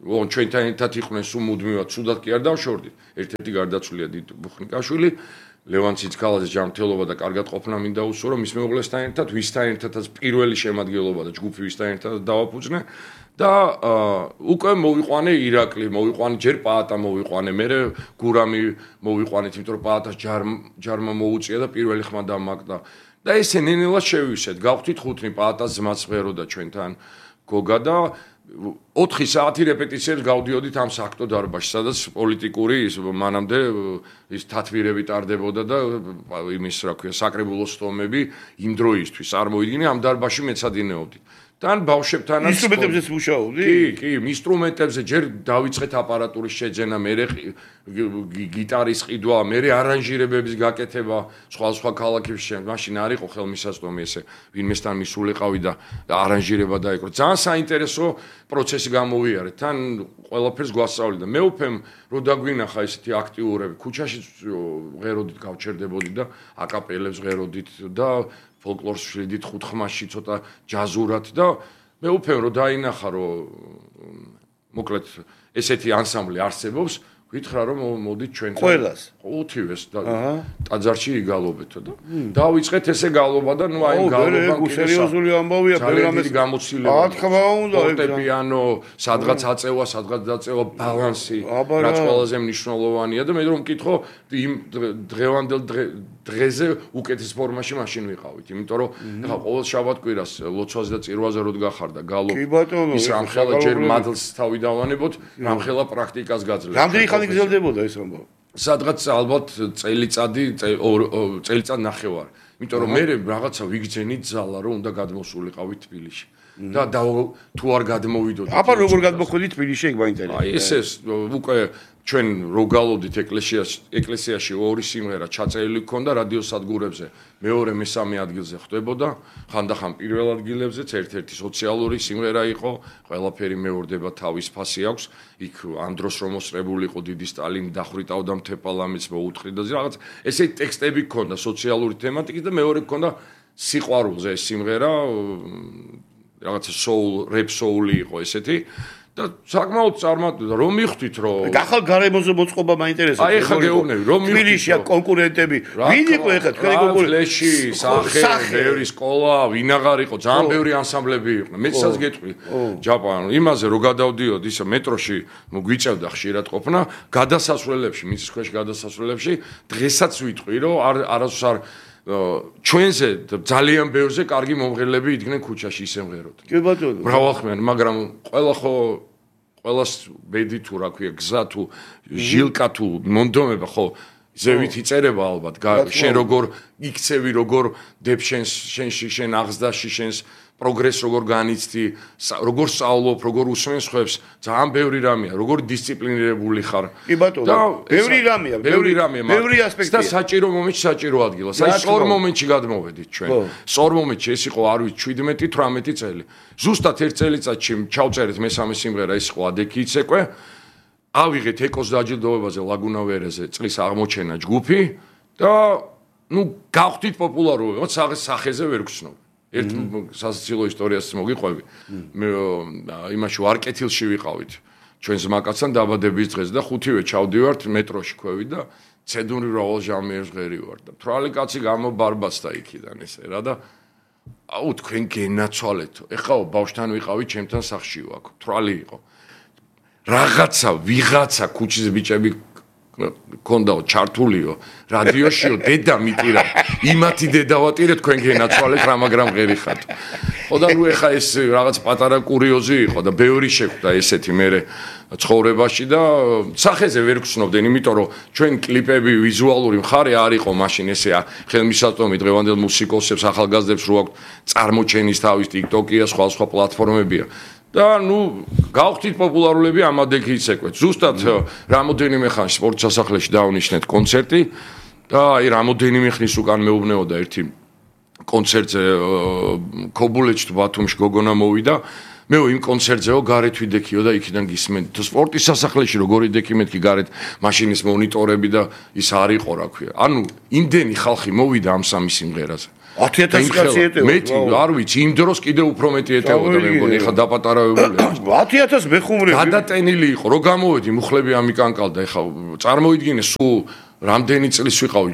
ჩვენთან ერთად იყვნენ სულ მუდმივად, სუდად კი არ დავშორდით. ერთ-ერთი გარდაცვლილია დიდ ბუხნიკაშვილი, ლევან ციცქალაძის ჯანმრთელობა და კარგად ყოფნა მინდა უსურო მის მეუღლესთან ერთად, ვისთან ერთადაც პირველი შემადგენლობა და ჯგუფი ვისთან ერთად დავაფუძნე და უკვე მოვიყვანე ირაკლი, მოვიყვანე ჯერ პაატა მოვიყვანე, მერე გურამი მოვიყვანეთ, იმიტომ რომ პაატას ჯარმა მოუწია და პირველი ხმა დამაკდა. და ესე ნენელად შევივსეთ, გავხდით ხუთნი პაატას ძმაც ღეროდა ჩვენთან გოგა და ოთხი საათი რეპეტიციებს გავდიოდით ამ საქმო დარბაზში, სადაც პოლიტიკური ის მანამდე ის თათვირები ტარდებოდა და იმის რა ქვია, საკრებულოს სტომები იმ დროისთვის არ მოიდგინე ამ დარბაზში მეცადინეობდით. თან ბავშვებთანაც ინსტრუმენტებზეც მუშაობდი? კი, კი, ინსტრუმენტებზე ჯერ დავიწყეთ აპარატურის შეძენა, მერე გიტარის ყიდვა, მერე არანჟირებების გაკეთება, სხვა სხვა ქალაქებში. მაშინ არ იყო ხელმისაწვდომი ესე, ვინმესთან მისულიყავი და არანჟირება დაეკრო. ძალიან საინტერესო პროცესი გამოვიარე. თან ყველაფერს გვასწავლი და მეუფემ რო დაგვინახა ესეთი აქტიურები, ქუჩაში ღეროდით გავჩერდებოდი და აკაპელებს ღეროდით და ფოლკლორს შვიდით ხუთხმაში ცოტა ჯაზურად და მე უფემ რომ დაინახა რომ მოკლედ ესეთი ანსამბლი არსებობს გითხრა რომ მოდით ჩვენთან ყველას უთივეს და ტაძარში იგალობეთო და დავიწყეთ ესე გალობა და ნუ აი გალობა კი სერიოზული ამბავია პროგრამის გამოცდილება რა თქმა უნდა ფორტეპიანო სადღაც აწევა სადღაც დაწევა ბალანსი რაც ყველაზე მნიშვნელოვანია და მე რომ მკითხო იმ დღევანდელ დღეზე უკეთის ფორმაში მაშინ ვიყავით იმიტომ რომ ეხლა ყოველ შაბათ-კვირას ლოცვაზე და წირვაზე რო დგახარდა გალობა ის რამხელა ჯერ მადლს თავი დავანებოთ რამხელა პრაქტიკას გაძლევთ რამდენი ხანი გრძელდებოდა ეს ამბავი სადღაც ალბათ წელიწადი წელიწად ნახევარი იმიტომ რომ მე რაღაცა ვიგძენით ზალა რომ უნდა გადმოსულიყავით თბილისში და თუ არ გადმოვიდოდი აბა როგორ გადმოხვიდით თბილისში ეგ მაინტერესებს აი ეს ეს უკვე ჩვენ რო გალოდით ეკლესიაში ეკლესიაში ორი სიმღერა ჩაწერილი გქონდა რადიოსადგურებზე მეორე მესამე ადგილზე ხვდებოდა ხანდახან პირველ ადგილებზეც ერთ-ერთი სოციალური სიმღერა იყო ყველაფერი მეორდება თავის ფასი აქვს იქ ამ დროს რომ მოსწრებული იყო დიდი სტალინი დახვრიტავდა მთეპალამის მოუთხრიდა რაღაც ესეთი ტექსტები გქონდა სოციალური თემატიკის და მეორე გქონდა სიყვარულზე ეს სიმღერა რაღაცა soul rap soul-ი იყო ესეთი და საკმაოდ წარმატდა რომ მიხვდით რომ ახალ გარემოზე მოწყობა მაინტერესებს აი ხა გეუბნები რომ მიხვდით თბილისში კონკურენტები ვინ იყო ეხლა თქვენი კონკურენტი სახე ბევრი სკოლა ვინ აღარ იყო ძალიან ბევრი ანსამბლები იყვნენ მეცაც გეტყვი ჯაპანი იმაზე რომ გადავდიოდ ისა მეტროში გვიწევდა ხშირად ყოფნა გადასასვლელებში მიწის ქვეშ გადასასვლელებში დღესაც ვიტყვი რომ არასდროს არ ჩვენზე ძალიან ბევრზე კარგი მომღერლები იდგნენ ქუჩაში ისე მღეროთ. კი ბატონო. მრავალხმიანი, მაგრამ ყველა ხო ყველას ბედი თუ რა ქვია, გზა თუ ჟილკა თუ მონდომება ხო ზევით იწერება ალბათ. შენ როგორ იქცევი, როგორ დებ შენს შენში შენ აღზრდაში შენს პროგრესს როგორ განიცდი, როგორ სწავლობ, როგორ უსმენ სხვებს, ძალიან ბევრი რამეა, როგორ დისციპლინირებული ხარ. კი ბატონო, ბევრი რამეა, ბევრი რამეა, ბევრი ასპექტია. და საჭირო მომენტში საჭირო ადგილა. საი სწორ მომენტში გადმოვედით ჩვენ. სწორ მომენტში ეს იყო არ ვიცი შვიდმეტი თვრამეტი წელი. ზუსტად ერთ წელიწადში ჩავწერეთ მესამე სიმღერა ის იყო ადექი იცეკვე. ავიღეთ ეკოს დაჯილდოებაზე ლაგუნა ვერეზე წლის აღმოჩენა ჯგუფი და ნუ გავხდით პოპულარობა, მაგრამ სახეზე ვერ გცნობ. ერთ სასაცილო ისტორიას მოგიყვები. მე იმაში ვარკეთილში ვიყავით. ჩვენ ზმაკაცთან დაბადების დღეს და ხუთივე ჩავდივართ მეტროში ქვევით და ცედური რავალ ჟამიერს ღერი ვარ და თრალი კაცი გამობარბაცდა იქიდან ესე რა და აუ თქვენ გენაცვალეთო. ეხლა ბავშვთან ვიყავით, ჩემთან სახლში ვაკ. თრალი იყო. რაღაცა ვიღაცა ქუჩის ბიჭები კონდაო ჩართულიო რადიოშიო დედა მიტირა იმათი დედა ვატირე თქვენ გენაცვალეთ რა მაგრამ ღერი ხატო ხო და ნუ ეხა ეს რაღაც პატარა კურიოზი იყო და ბევრი შეხვდა ესეთი მე ცხოვრებაში და სახეზე ვერ გცნობდნენ, იმიტომ რომ ჩვენ კლიპები ვიზუალური მხარე არ იყო მაშინ ესე ხელმისაწვდომი დღევანდელ მუსიკოსებს, ახალგაზრდებს რო აქვთ წარმოჩენის თავის TikTok-ია, სხვა სხვა პლატფორმებია. და ნუ გავხდით პოპულარულები ამადექი იცეკვეთ. ზუსტად რამოდენიმე ხანში სპორტ სასახლეში დავნიშნეთ კონცერტი და აი რამოდენიმე ხნის უკან მეუბნეოდა ერთი კონცერტზე ქობულეთში ბათუმში გოგონა მოვიდა. მე იმ კონცერტზეო გარეთ ვიდექიო და იქიდან გისმენთ. თუ სპორტის სასახლეში როგორი დექი მეთქი გარეთ მაშინის მონიტორები და ის არ იყო რა ქვია. ანუ იმდენი ხალხი მოვიდა ამ სამი სიმღერაზე. ათი ათასი კაცი ეტევა. მეტი არ ვიცი, იმ დროს კიდე უფრო მეტი ეტეოდა მე მგონი, ეხლა დაპატარავებულია. ათი ათასი მეხუმრები. გადატენილი იყო, რო გამოვედი, მუხლები ამიკანკალდა, ეხლა წარმოიდგინე სულ რამდენი წლის ვიყავი?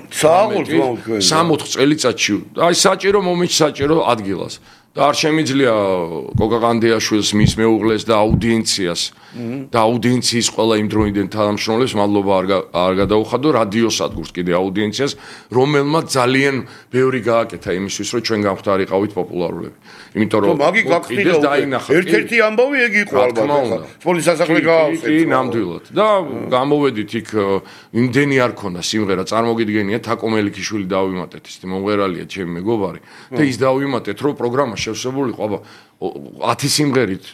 სამოთხ წელიწადში. აი საჭირო მომენტში საჭირო ადგილას. და არ შემიძლია კოკაყანდეაშვილს მის მეუღლეს და აუდიენციას და აუდიენციის ყველა იმ დროინდელ თანამშრომლებს მადლობა არ არ გადაუხადო რადიოსადგურს კიდე აუდიენციას, რომელმაც ძალიან ბევრი გააკეთა იმისთვის, რომ ჩვენ გამختارიყავით პოპულარულები. იმიტომ რომ მაგი გაკეთდა ერთ-ერთი ამბავი ეგ იყო ალბათ. სპორტის სასახლე გააქვს. კი, ნამდვილად. და გამოვედით იქ იმდენი არ ქონდა სიმღერა, წარმოგიდგენია თაკო მელიქიშვილი დავიმატეთ, ის მომღერალია ჩემი მეგობარი და ის დავიმატეთ, რომ პროგრამა შევსებულიყო, აბა ათი სიმღერით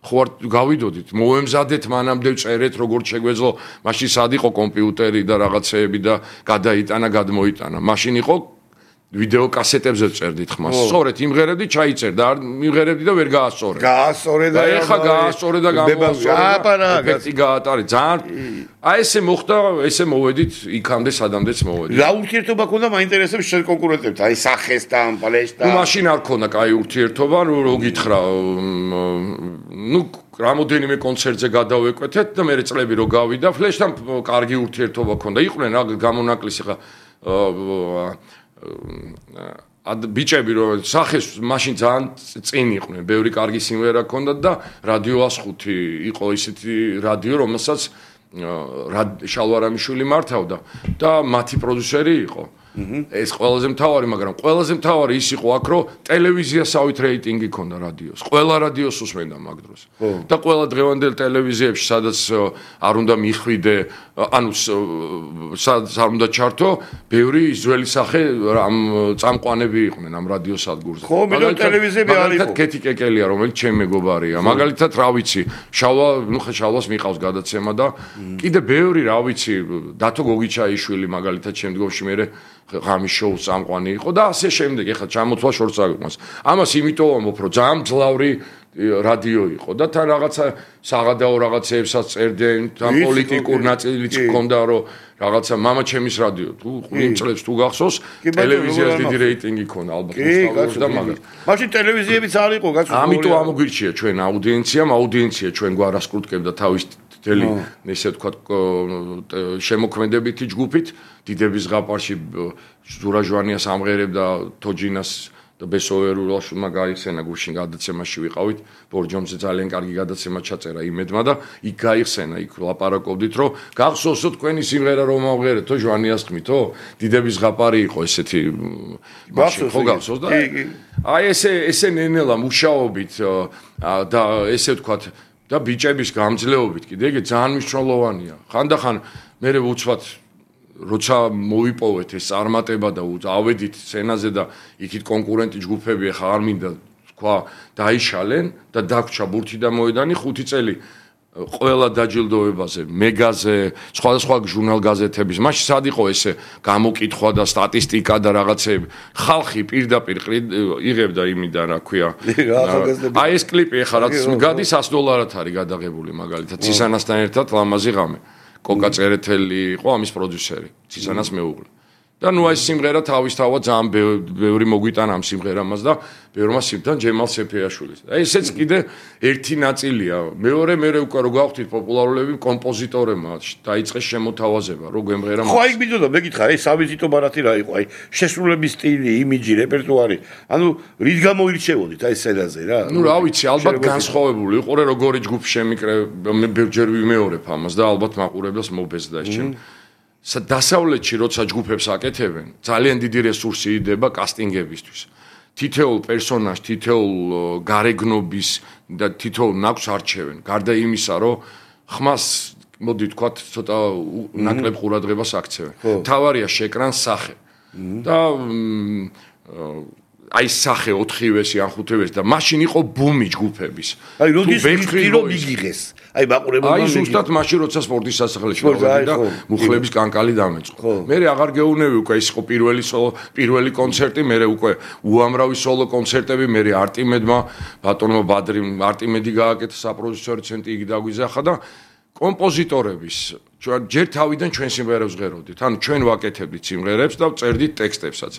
ხო არ გავიდოდით, მოემზადეთ მანამდე წერეთ, როგორც შეგვეძლო, მაშინ სად იყო კომპიუტერი და რაღაცეები და გადაიტანა, გადმოიტანა. მაშინ იყო ვიდეო კასეტებზე წერდით ხმას. სწორედ იმღერებდი, ჩაიწერდა და არ იმღერებდი და ვერ გაასწორე. გაასწორე და ეხა გაასწორე და გამოასწორე. ეფექტი გაატარე. ძალიან აი ესე მოხდა, ესე მოვედით იქამდე სადამდეც მოვედით. რა ურთიერთობა ქონდა მაინტერესებს შენ კონკურენტებთან? აი სახესთან, პლეშთან. ნუ მაშინ არ ქონდა კაი ურთიერთობა, რო გითხრა, ნუ რამოდენიმე კონცერტზე გადავეკვეთეთ და მე წლები რო გავიდა, ფლეშთან კარგი ურთიერთობა ქონდა. იყვნენ რა გამონაკლისი ხა ად ბიჭები რომ სახეს მაშინ ძალიან წინ იყვნენ, ბევრი კარგი სიმღერა ჰქონდათ და რადიო ას ხუთი იყო ისეთი რადიო, რომელსაც შალვარამიშვილი მართავდა და მათი პროდიუსერი იყო. ეს ყველაზე მთავარი, მაგრამ ყველაზე მთავარი ის იყო აქ, რომ ტელევიზიასავით რეიტინგი ქონდა რადიოს. ყველა რადიოს უსმენდა მაგ დროს. და ყველა დღევანდელ ტელევიზიებში, სადაც არ უნდა მიხვიდე, ანუ სადაც არ უნდა ჩართო, ბევრი ძველი სახე ამ წამყვანები იყვნენ ამ რადიო სადგურზე. ხო, მიდო ტელევიზიები არ იყო. მაგალითად კეთი კეკელია, რომელიც ჩემი მეგობარია. მაგალითად, რა ვიცი, შალვა, ნუ ხა შალვას მიყავს გადაცემა და კიდე ბევრი, რა ვიცი, დათო გოგიჩაიშვილი მაგალითად შემდგომში მე ღამის შოუს წამყვანი იყო და ასე შემდეგ. ეხლა ჩამოთვალ შორს აგვიყვანს. ამას იმიტომ ვამბობ, რომ ძალიან მძლავრი რადიო იყო და თან რაღაცა საღადაო რაღაცეებსაც წერდნენ, თან პოლიტიკურ ნაწილიც ჰქონდა, რომ რაღაცა მამა ჩემის რადიო თუ იმ წლებს თუ გახსოვს, ტელევიზიას დიდი რეიტინგი ჰქონდა ალბათ მოსწავლეებს და მაგას. მაშინ ტელევიზიებიც არ იყო გასულ. ამიტომ ამოგვირჩია ჩვენ აუდიენციამ, აუდიენცია ჩვენ გვარასკრუტკებდა თავის თელი ესე ვთქვათ შემოქმედებითი ჯგუფით დიდების ზღაპარში ზურა ჟვანიას ამღერებდა თოჯინას და ბესოვერულაშვილმა გაიხსენა გუშინ გადაცემაში ვიყავით ბორჯომზე ძალიან კარგი გადაცემა ჩაწერა იმედმა და იქ გაიხსენა იქ ლაპარაკობდით რომ გახსოვსო თქვენი სიმღერა რომ ამღერეთო ჟვანიას ხმითო დიდების ზღაპარი იყო ესეთი მაშინ ხო გახსოვს და აი ესე ესე ნენელა მუშაობით და ესე ვთქვათ და ბიჭების გამძლეობით კიდე ეგ ძალიან მნიშვნელოვანია. ხანდახან მე ვუცვათ როცა მოვიპოვეთ ეს წარმატება და ავედით სცენაზე და იქით კონკურენტი ჯგუფები ახლა არ მინდა თქვა დაიშალენ და დაგვრჩა ბურთი და მოედანი ხუთი წელი ყველა დაჯილდოებაზე, მეგაზე, სხვადასხვა ჟურნალ გაზეთების. მაშინ სად იყო ესე გამოკითხვა და სტატისტიკა და რაღაცეები. ხალხი პირდაპირ იღებდა იმიდან, რა ქვია. აი ეს კლიპი ახლა რაც გადის ას დოლარად არის გადაღებული მაგალითად ცისანასთან ერთად ლამაზი ღამე. კოკა წერეთელი იყო ამის პროდიუსერი, ცისანას მეუღლე. და ნუ ეს სიმღერა თავისთავად ძალიან ბევრი მოგვიტანა ამ სიმღერამას და ბევრმა სიმთან ჯემალ სეფიაშვილის. აი ესეც კიდე ერთი ნაწილია. მეორე მეორე უკვე რო გავხდით პოპულარულები კომპოზიტორებმა დაიწყეს შემოთავაზება, რო გვემღერა. ხო, აი მიდოდა მეკითხა, ეს ავიზიტო ბარათი რა იყო? აი შესრულების სტილი, იმიჯი, რეპერტუარი. ანუ რით გამოირჩევოდით აი სცენაზე რა? ნუ რა ვიცი, ალბათ განსხვავებული იყო, როგორი ჯგუფი შემიკრე, მე ბევრჯერ ვიმეორებ ამას და ალბათ მაყურებლს მობეზდა ეს ჩემ დასავლეთში როცა ჯგუფებს აკეთებენ, ძალიან დიდი რესურსი იდება კასტინგებისთვის. თითოეულ პერსონაჟს, თითოეულ გარეგნობის და თითოეულ ნაკვს არჩევენ. გარდა იმისა, რომ ხმას მოდი თქვათ ცოტა ნაკლებ ყურადღებას აქცევენ. თავარია შეკრან სახე. და აი სახე ოთხივესი ან ხუთივესი და მაშინ იყო ბუმი ჯგუფების. აი როდის ვიქრო მიგიღეს. აი მაყურებელმა აი ზუსტად მაშინ როცა სპორტის სასახლეში გავედი და მუხლების კანკალი დამეწყო. მე აღარ გეუნები უკვე ის იყო პირველი სოლო, პირველი კონცერტი, მე უკვე უამრავი სოლო კონცერტები, მე არტიმედმა, ბატონმა ბადრიმ არტიმედი გააკეთა საპროდიუსერო ცენტრი იგი დაგვიზახა და კომპოზიტორების ჯერ თავიდან ჩვენ სიმღერებს ღეროდით. ანუ ჩვენ ვაკეთებდით სიმღერებს და წერდით ტექსტებსაც.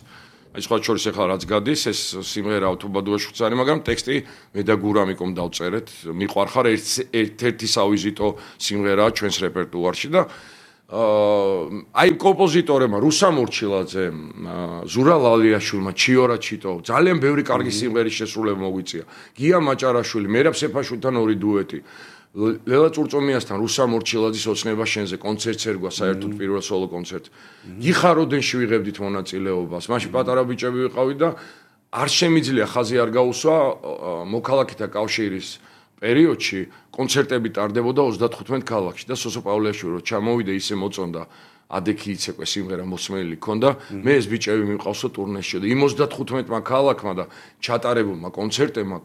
აი სხვა შორის ახლა რაც გადის ეს სიმღერა ავტობადუაში ვწარი, მაგრამ ტექსტი მე და გურამიკომ დავწერეთ. მიყვარხარ ერთ-ერთი სავიზიტო სიმღერაა ჩვენს რეპერტუარში და აი კომპოზიტორებმა რუსა მორჩილაძემ, ზურა ლალიაშვილმა, ჩიორა ჩიტო ძალიან ბევრი კარგი სიმღერის შესრულება მოგვიწია. გია მაჭარაშვილი, მერაბ სეფაშვილთან ორი დუეტი. ლელა წურწომიასთან რუსა მორჩილაძის ოცნება შენზე კონცერტს ერგვა საერთოდ პირველ სოლო კონცერტს. გიხაროდენში ვიღებდით მონაწილეობას. მაშინ პატარა ბიჭები ვიყავით და არ შემიძლია ხაზი არ გაუსვა მოქალაქეთა კავშირის პერიოდში კონცერტები ტარდებოდა ოცდათხუთმეტ ქალაქში და სოსო პავლეაშვილი რო ჩამოვიდა ისე მოწონდა ადექი იცეკვე სიმღერა მოსმენელი ქონდა მე ეს ბიჭები მიყავსო ტურნეში და იმ ოცდათხუთმეტმა ქალაქმა და ჩატარებულმა კონცერტებმა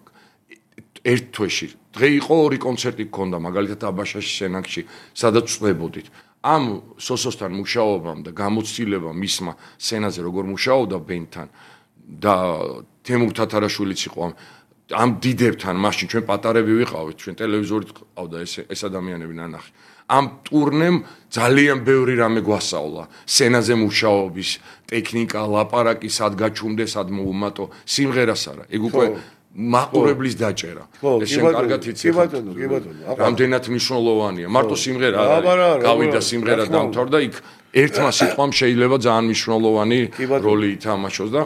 ერთ თვეში დღე იყო ორი კონცერტი გქონდა მაგალითად აბაშაში სენაკში სადაც წვებოდით ამ სოსოსთან მუშაობამ და გამოცდილებამ მისმა სცენაზე როგორ მუშაობდა ბენდთან და თემურ თათარაშვილიც იყო ამ დიდებთან მაშინ ჩვენ პატარები ვიყავით ჩვენ ტელევიზორით ყავდა ეს ეს ადამიანები ნანახი ამ ტურნემ ძალიან ბევრი რამე გვასწავლა სცენაზე მუშაობის ტექნიკა ლაპარაკი სად გაჩუმდეს სად მოუმატო სიმღერას არა ეგ უკვე მაყურებლის დაჭერა ეს შენ კარგად იცი კი ბატონო კი ბატონო რამდენად მნიშვნელოვანია მარტო სიმღერა არა გავიდა სიმღერა დამთავრდა იქ ერთმა სიტყვამ შეიძლება ძალიან მნიშვნელოვანი როლი ითამაშოს და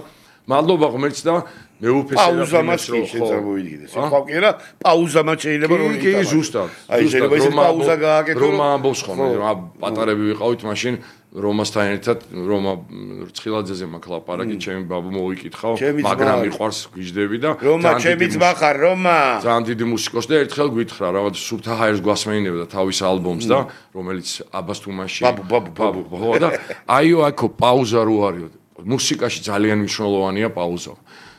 მადლობა ღმერთს და მეუფეს პაუზამაც შეწამოვიდგინეს. ხო კი არა, პაუზამაც შეიძლება რომ კი კი ზუსტად. აი შეიძლება ის პაუზა გააკეთო. რომ ამბობს ხოლმე, რომ პატარები ვიყავით მაშინ რომასთან ერთად, რომა რცხილაძეზე მაქვს ლაპარაკი, ჩემი ბაბუ მოვიკითხავ, მაგრამ მიყვარს გვიждები და რომა ჩემიც მახარ, რომა. ძალიან დიდი მუსიკოსი და ერთხელ გვითხრა, რაღაც სურთა ჰაერს გვასმენინებდა თავის ალბომს და რომელიც აბას თუმაში ბაბუ ბაბუ ბაბუ ხო და აიო აქო პაუზა რო არისო. მუსიკაში ძალიან მნიშვნელოვანია პაუზა.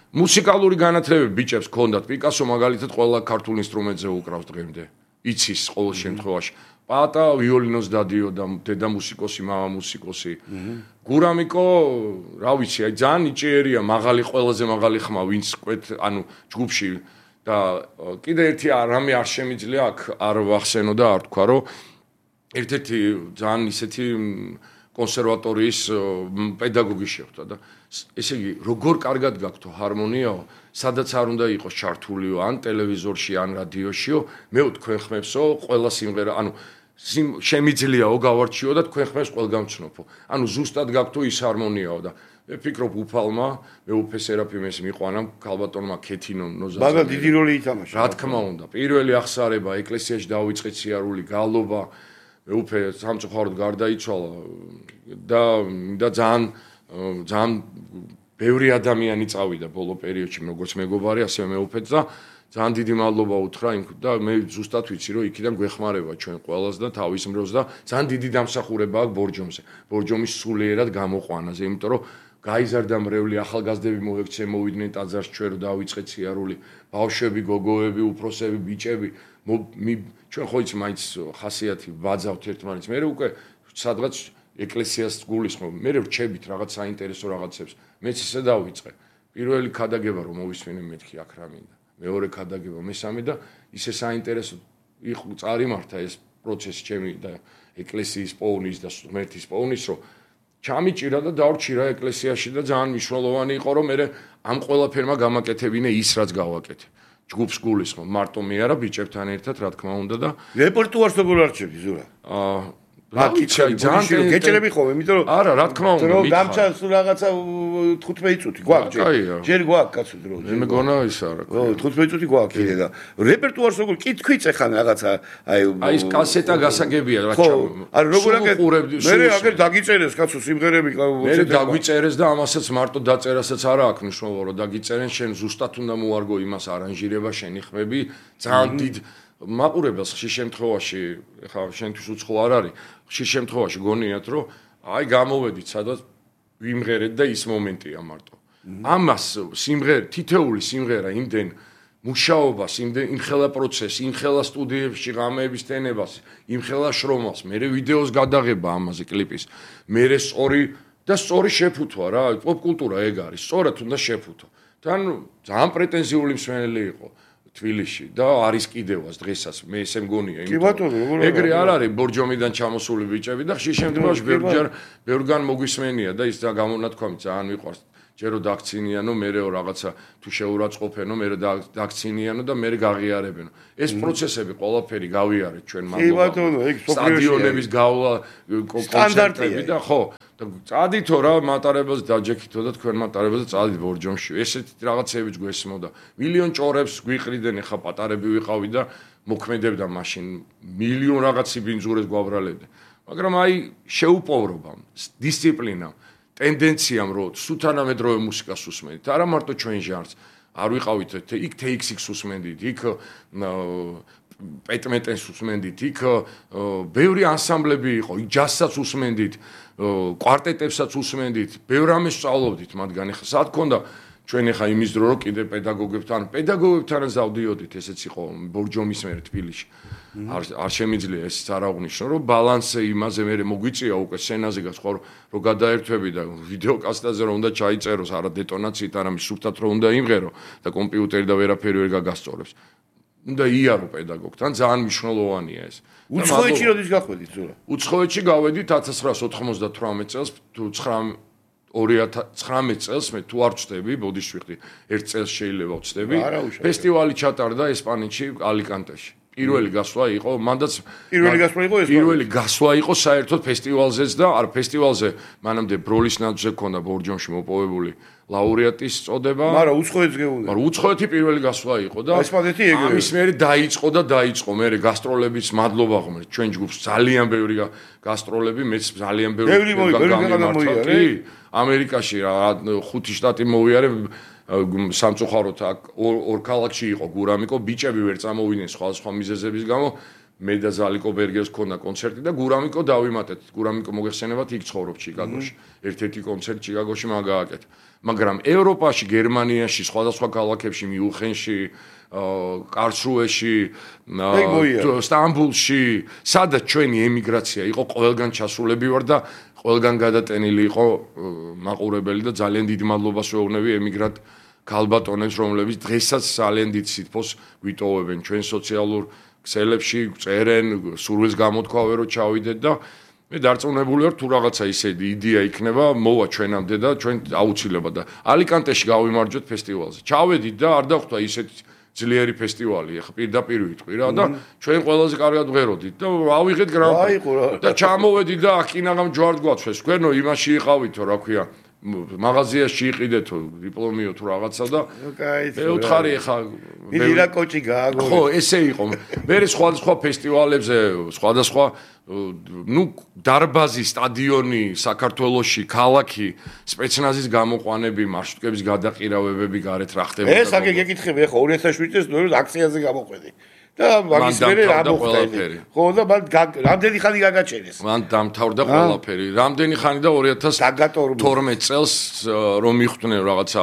მუსიკალური განათლებები ბიჭებს ქონდათ პიკასო მაგალითად ყველა ქართულ ინსტრუმენტზე უკრავს დღემდე იცის ყოველ შემთხვევაში პატა ვიოლინოს დადიოდა დედა მუსიკოსი მამა მუსიკოსი გურამიკო რა ვიცი აი ძალიან იჭიერია მაღალი ყველაზე მაღალი ხმა ვინც კვეთ ანუ ჯგუფში და კიდე ერთი რამე არ შემიძლია აქ არ ვახსენო და არ თქვა რომ ერთ-ერთი ძალიან ისეთი კონსერვატორიის პედაგოგი შეხვდა და ესე იგი როგორ კარგად გაქვთო ჰარმონიაო სადაც არ უნდა იყოს ჩართულიო ან ტელევიზორში ან რადიოშიო მე თქვენ ხმებსო ყველა სიმღერა ანუ შემიძლიაო გავარჩიო და თქვენ ხმებს ყველგან ვცნობო ანუ ზუსტად გაქვთო ის ჰარმონიაო და მე ფიქრობ უფალმა მე უფე სერაფიმეს მიყვანა ქალბატონმა ქეთინომ ნოზაძე მაგრამ დიდი როლი ითამაშა რა თქმა უნდა პირველი ახსარება ეკლესიაში დავიწყეთ სიარული გალობა მე უფე სამწუხაროდ გარდაიცვალა და და ძალიან ძალიან ბევრი ადამიანი წავიდა ბოლო პერიოდში როგორც მეგობარი ასევე მეუფეც და ძალიან დიდი მადლობა უთხრა იმ და მე ზუსტად ვიცი რომ იქიდან გვეხმარება ჩვენ ყველას და თავის მრევლს და ძალიან დიდი დამსახურება აქვს ბორჯომზე ბორჯომის სულიერად გამოყვანაზე იმიტომ რომ გაიზარდა მრევლი ახალგაზრდები მოექცე მოვიდნენ ტაძარს ჩვენ რომ დავიწყეთ სიარული ბავშვები გოგოები უფროსები ბიჭები ჩვენ ხო იცი მაინც ხასიათი ვაძავთ ერთმანეთს მე უკვე სადღაც ეკლესიას გულისხმობ მე რჩებით რაღაც საინტერესო რაღაცებს მეც ისე დავიწყე პირველი ქადაგება რომ მოვისმინე მეთქი აქ რა მინდა მეორე ქადაგება მესამე და ისე საინტერესო იყო წარიმართა ეს პროცესი ჩემი და ეკლესიის პოვნის და ღმერთის პოვნის რომ ჩამიჭირა და დავრჩირა ეკლესიაში და ძალიან მნიშვნელოვანი იყო რომ მე ამ ყველაფერმა გამაკეთებინე ის რაც გავაკეთე ჯგუფს გულისხმობ მარტო მე არა ბიჭებთან ერთად რა თქმა უნდა და რეპერტუარს როგორ არჩევდი ზურა აა აკითხები ძალიან გეჭერები ხოლმე, იმიტომ რომ არა, რა თქმა უნდა, რომ დამჩა რაღაცა თხუთმეტი წუთი გვაქვს ჯერ. ჯერ გვაქვს კაცო დრო. მე მეგონა ის არა. ო, თხუთმეტი წუთი გვაქვს კიდე და რეპერტუარს როგორ კითხვიც ეხან რაღაცა აი აი ეს კასეტა გასაგებია რა ჩა. არა როგორ აკეთებ? მე აგერ დაგიწერეს კაცო სიმღერები მე დაგიწერეს და ამასაც მარტო დაწერასაც არა აქვს მნიშვნელობა რომ დაგიწერენ შენ ზუსტად უნდა მოარგო იმას არანჟირება შენი ხმები ძალიან დიდ მაყურებელს ხშირ შემთხვევაში ხა შენთვის უცხო არ არის ხშირ შემთხვევაში გონიათ რომ აი გამოვედით სადაც ვიმღერეთ და ის მომენტია მარტო ამას სიმღერა თითეული სიმღერა იმდენ მუშაობას იმდენ იმხელა პროცესი იმხელა სტუდიებში ღამეების ტენებას იმხელა შრომას მე ვიდეოს გადაღება ამაზე კლიპის მე სწორი და სწორი შეფუთვა რა პოპ კულტურა ეგ არის სწორად უნდა შეფუთო თან ძალიან პრეტენზიული მსმენელი იყო თბილისში და არის კიდევაც დღესაც მე ესე მგონია იმიტომ ეგრე არ არის ბორჯომიდან ჩამოსული ბიჭები და ხშირ შემთხვევაში ბევრჯერ ბევრგან მოგვისმენია და ის და გამონათქვამი ძალიან მიყვარს ჯერო დაქცინიანო მერეო რაღაცა თუ შეურაცხყოფენო მერე დაქცინიანო და მერე გაღიარებენო ეს პროცესები ყველაფერი გავიარეთ ჩვენ მანდ სტადიონების გავლა კონცერტები და ხო და წადითო რა მატარებელს დაჯექითო და თქვენ მატარებელს წადით ბორჯომში ესეთი რაღაცებიც გვესმოდა მილიონ ჭორებს გვიყრიდნენ ხა პატარები ვიყავი და მოქმედებდა მაშინ მილიონ რაღაცი ბინძურეს გვაბრალებდა მაგრამ აი შეუპოვრობამ დისციპლინამ ტენდენციამ რომ სუთანამედროვე მუსიკას უსმენთ არა მარტო ჩვენ ჟანრს არ ვიყავით იქ თეიქსიქს უსმენდით იქ პეტმეტენს უსმენდით იქ ბევრი ანსამბლები იყო იქ ჯაზსაც usmendit კვარტეტებსაც usmendit ბევრ ამას სწავლობდით მათგან ახლა სად ქონდა ჩვენ ახლა იმის დრო რომ კიდე პედაგოგებთან პედაგოგებთან ზავდიოდით ესეც იყო ბორჯომის მერე თბილისში არ არ შემიძლია ეს არ აღნიშნო რომ ბალანსი იმაზე მე მოგვიწია უკვე სცენაზე გასხვა რომ გადაერთვები და ვიდეოკასტაზე რომ უნდა ჩაიწეროს არა დეტონაციით არა სუფთად რომ უნდა იმღერო და კომპიუტერი და ვერაფერი ვერ გაგასწორებს უნდა იარო პედაგოგთან ძალიან მნიშვნელოვანია ეს უცხოეთში როდის გახვედით ზურა უცხოეთში გავედით ათას ცხრაასი ოთხმოცდათვრამეტ წელს თუ ორი ათას ცხრამეტ წელს მე თუ არ ვწდები ბოდიში ვიხდი ერთ წელს შეიძლება ვწდები ფესტივალი ჩატარდა ესპანეთში ალიკანტეში პირველი გასვლა იყო მანდაც პირველი გასვლა იყო ეს პირველი გასვლა იყო საერთოდ ფესტივალზეც და არ ფესტივალზე მანამდე ბროლის ნაძვზე ქონდა ბორჯომში მოპოვებული ლაურეატის წოდება მაგრამ უცხოეთს გეუნდა მაგრამ უცხოეთი პირველი გასვლა იყო და ესპანეთი ეგრევე ამის მერე დაიწყო და დაიწყო მე გასტროლებიც მადლობა ხომ ჩვენ ჯგუფს ძალიან ბევრი გასტროლები მეც ძალიან ბევრი ბევრი მოიარა ამერიკაში რა ხუთი შტატი მოვიარე სამწუხაროდ აქ ორ ქალაქში იყო გურამიკო ბიჭები ვერ წამოვიდნენ სხვა სხვა მიზეზების გამო მე და ზალიკო ბერგერს ქონდა კონცერტი და გურამიკო დავიმატეთ გურამიკო მოგეხსენებათ იქ ცხოვრობს ჩიკაგოში ერთ-ერთი კონცერტი ჩიკაგოში მაგააკეთ მაგრამ ევროპაში გერმანიაში სხვადასხვა ქალაქებში მიუნხენში კარლსრუეში სტამბულში სადაც ჩვენი ემიგრაცია იყო ყველგან ჩასულები ვარ და ყველგან გადატენილი იყო მაყურებელი და ძალიან დიდი მადლობას ვეუბნები ემიგრანტ ქალბატონებს რომლებიც დღესაც ძალიან დიდ სითბოს ვიტოვებენ ჩვენ სოციალურ ქსელებში წერენ სურვილს გამოთქვავენ რომ ჩავიდეთ და მე დარწმუნებული ვარ თუ რაღაცა ისე იდეა იქნება მოვა ჩვენამდე და ჩვენ აუცილებლად და ალიკანტეში გავიმარჯვეთ ფესტივალზე ჩავედით და არ დახვდა ისეთი ძლიერი ფესტივალი ახლა პირდაპირ ვიტყვი რა და ჩვენ ყველაზე კარგად ვღეროდით და ავიღეთ გრან-პრი და ჩამოვედით და აკინაღამ ჯვართ გვაცვეს თქვენო იმაში იყავითო რა ქვია მაღაზიაში იყიდეთო დიპლომიო თუ რაღაცა და მე ვთხარი ახლა მიდირა კოჭი გააგო ხო ესე იყო მე სხვადასხვა ფესტივალებზე სხვადასხვა ნუ დარბაზი სტადიონი საქართველოში ქალაქი სპეცნაზის გამოყვანები მარშრუტკების გადაყირავებები გარეთ რა ხდება ეს აგე გეკითხები ახლა ორი ათას შვიდ წელს ნუ აქციაზე გამოყვედი და მაგის მერე რა მოხდა ხო და მან რამდენი ხანი გაგაჩენეს მან დამთავრდა ყველაფერი რამდენი ხანი და ორი ათას თორმეტ წელს რომ მიხვდნენ რაღაცა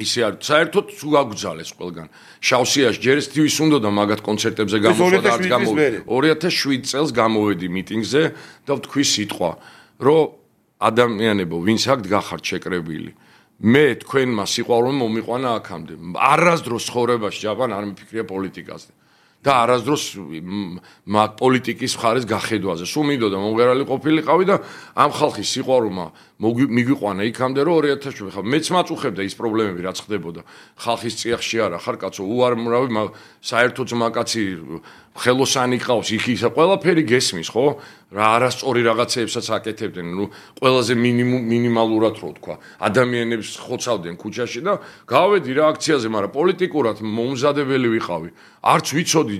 ისე არ საერთოდ თუ გაგძალეს ყველგან შავსიაში ჯერ ესთვის უნდა და მაგათ კონცერტებზე გამოსვლა და არც გამოვედი ორი ათას შვიდ წელს გამოვედი მიტინგზე და ვთქვი სიტყვა რომ ადამიანებო ვინც აქ გახართ შეკრებილი მე თქვენმა სიყვარული მომიყვანა აქამდე არასდროს ცხოვრებაში ჯაპან არ მიფიქრია პოლიტიკაზე და არასდროს მაგ პოლიტიკის მხარეს გახედვაზე. სულ მინდოდა მომღერალი ყოფილიყავი და ამ ხალხის სიყვარულმა მიგვიყვანა იქამდე რომ ორი ათას შვიდ ხა მეც მაწუხებდა ის პრობლემები რაც ხდებოდა. ხალხის წიაღში არა ხარ კაცო უარმრავი საერთოდ მაკაცი ხელოსანი ყავს იქ ისა ყველაფერი გესმის ხო? რა არასწორი რაღაცეებსაც აკეთებდნენ, ნუ ყველაზე მინიმუმ მინიმალურად რო თქვა. ადამიანებს ხოცავდნენ ქუჩაში და გავედი რა აქციაზე, მაგრამ პოლიტიკურად მომზადებელი ვიყავი. არც ვიცოდი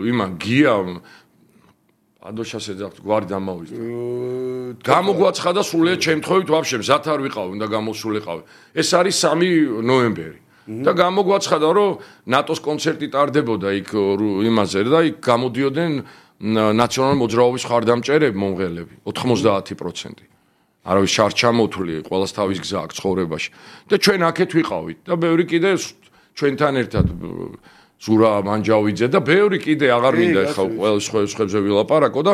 იმან გია ადოშას ეძახთ გვარი დამავიწყდა. გამოგვაცხადა სულიად შემთხვევით ვაფშე მზად არ ვიყავი, უნდა გამოსულიყავი. ეს არის სამი ნოემბერი. და გამოგვაცხადა რომ ნატოს კონცერტი ტარდებოდა იქ იმაზე და იქ გამოდიოდნენ ნაციონალური მოძრაობის ხარდამჭერები მომღერლები ოთხმოცდაათი პროცენტი. არავის შარ ჩამოთვლი, ყველას თავის გზა აქვს ცხოვრებაში. და ჩვენ აქეთ ვიყავით და ბევრი კიდე ჩვენთან ერთად ზურა მანჯავიძე და ბევრი კიდე აღარ მინდა ეხლა ყველა სხვებზე ვილაპარაკო და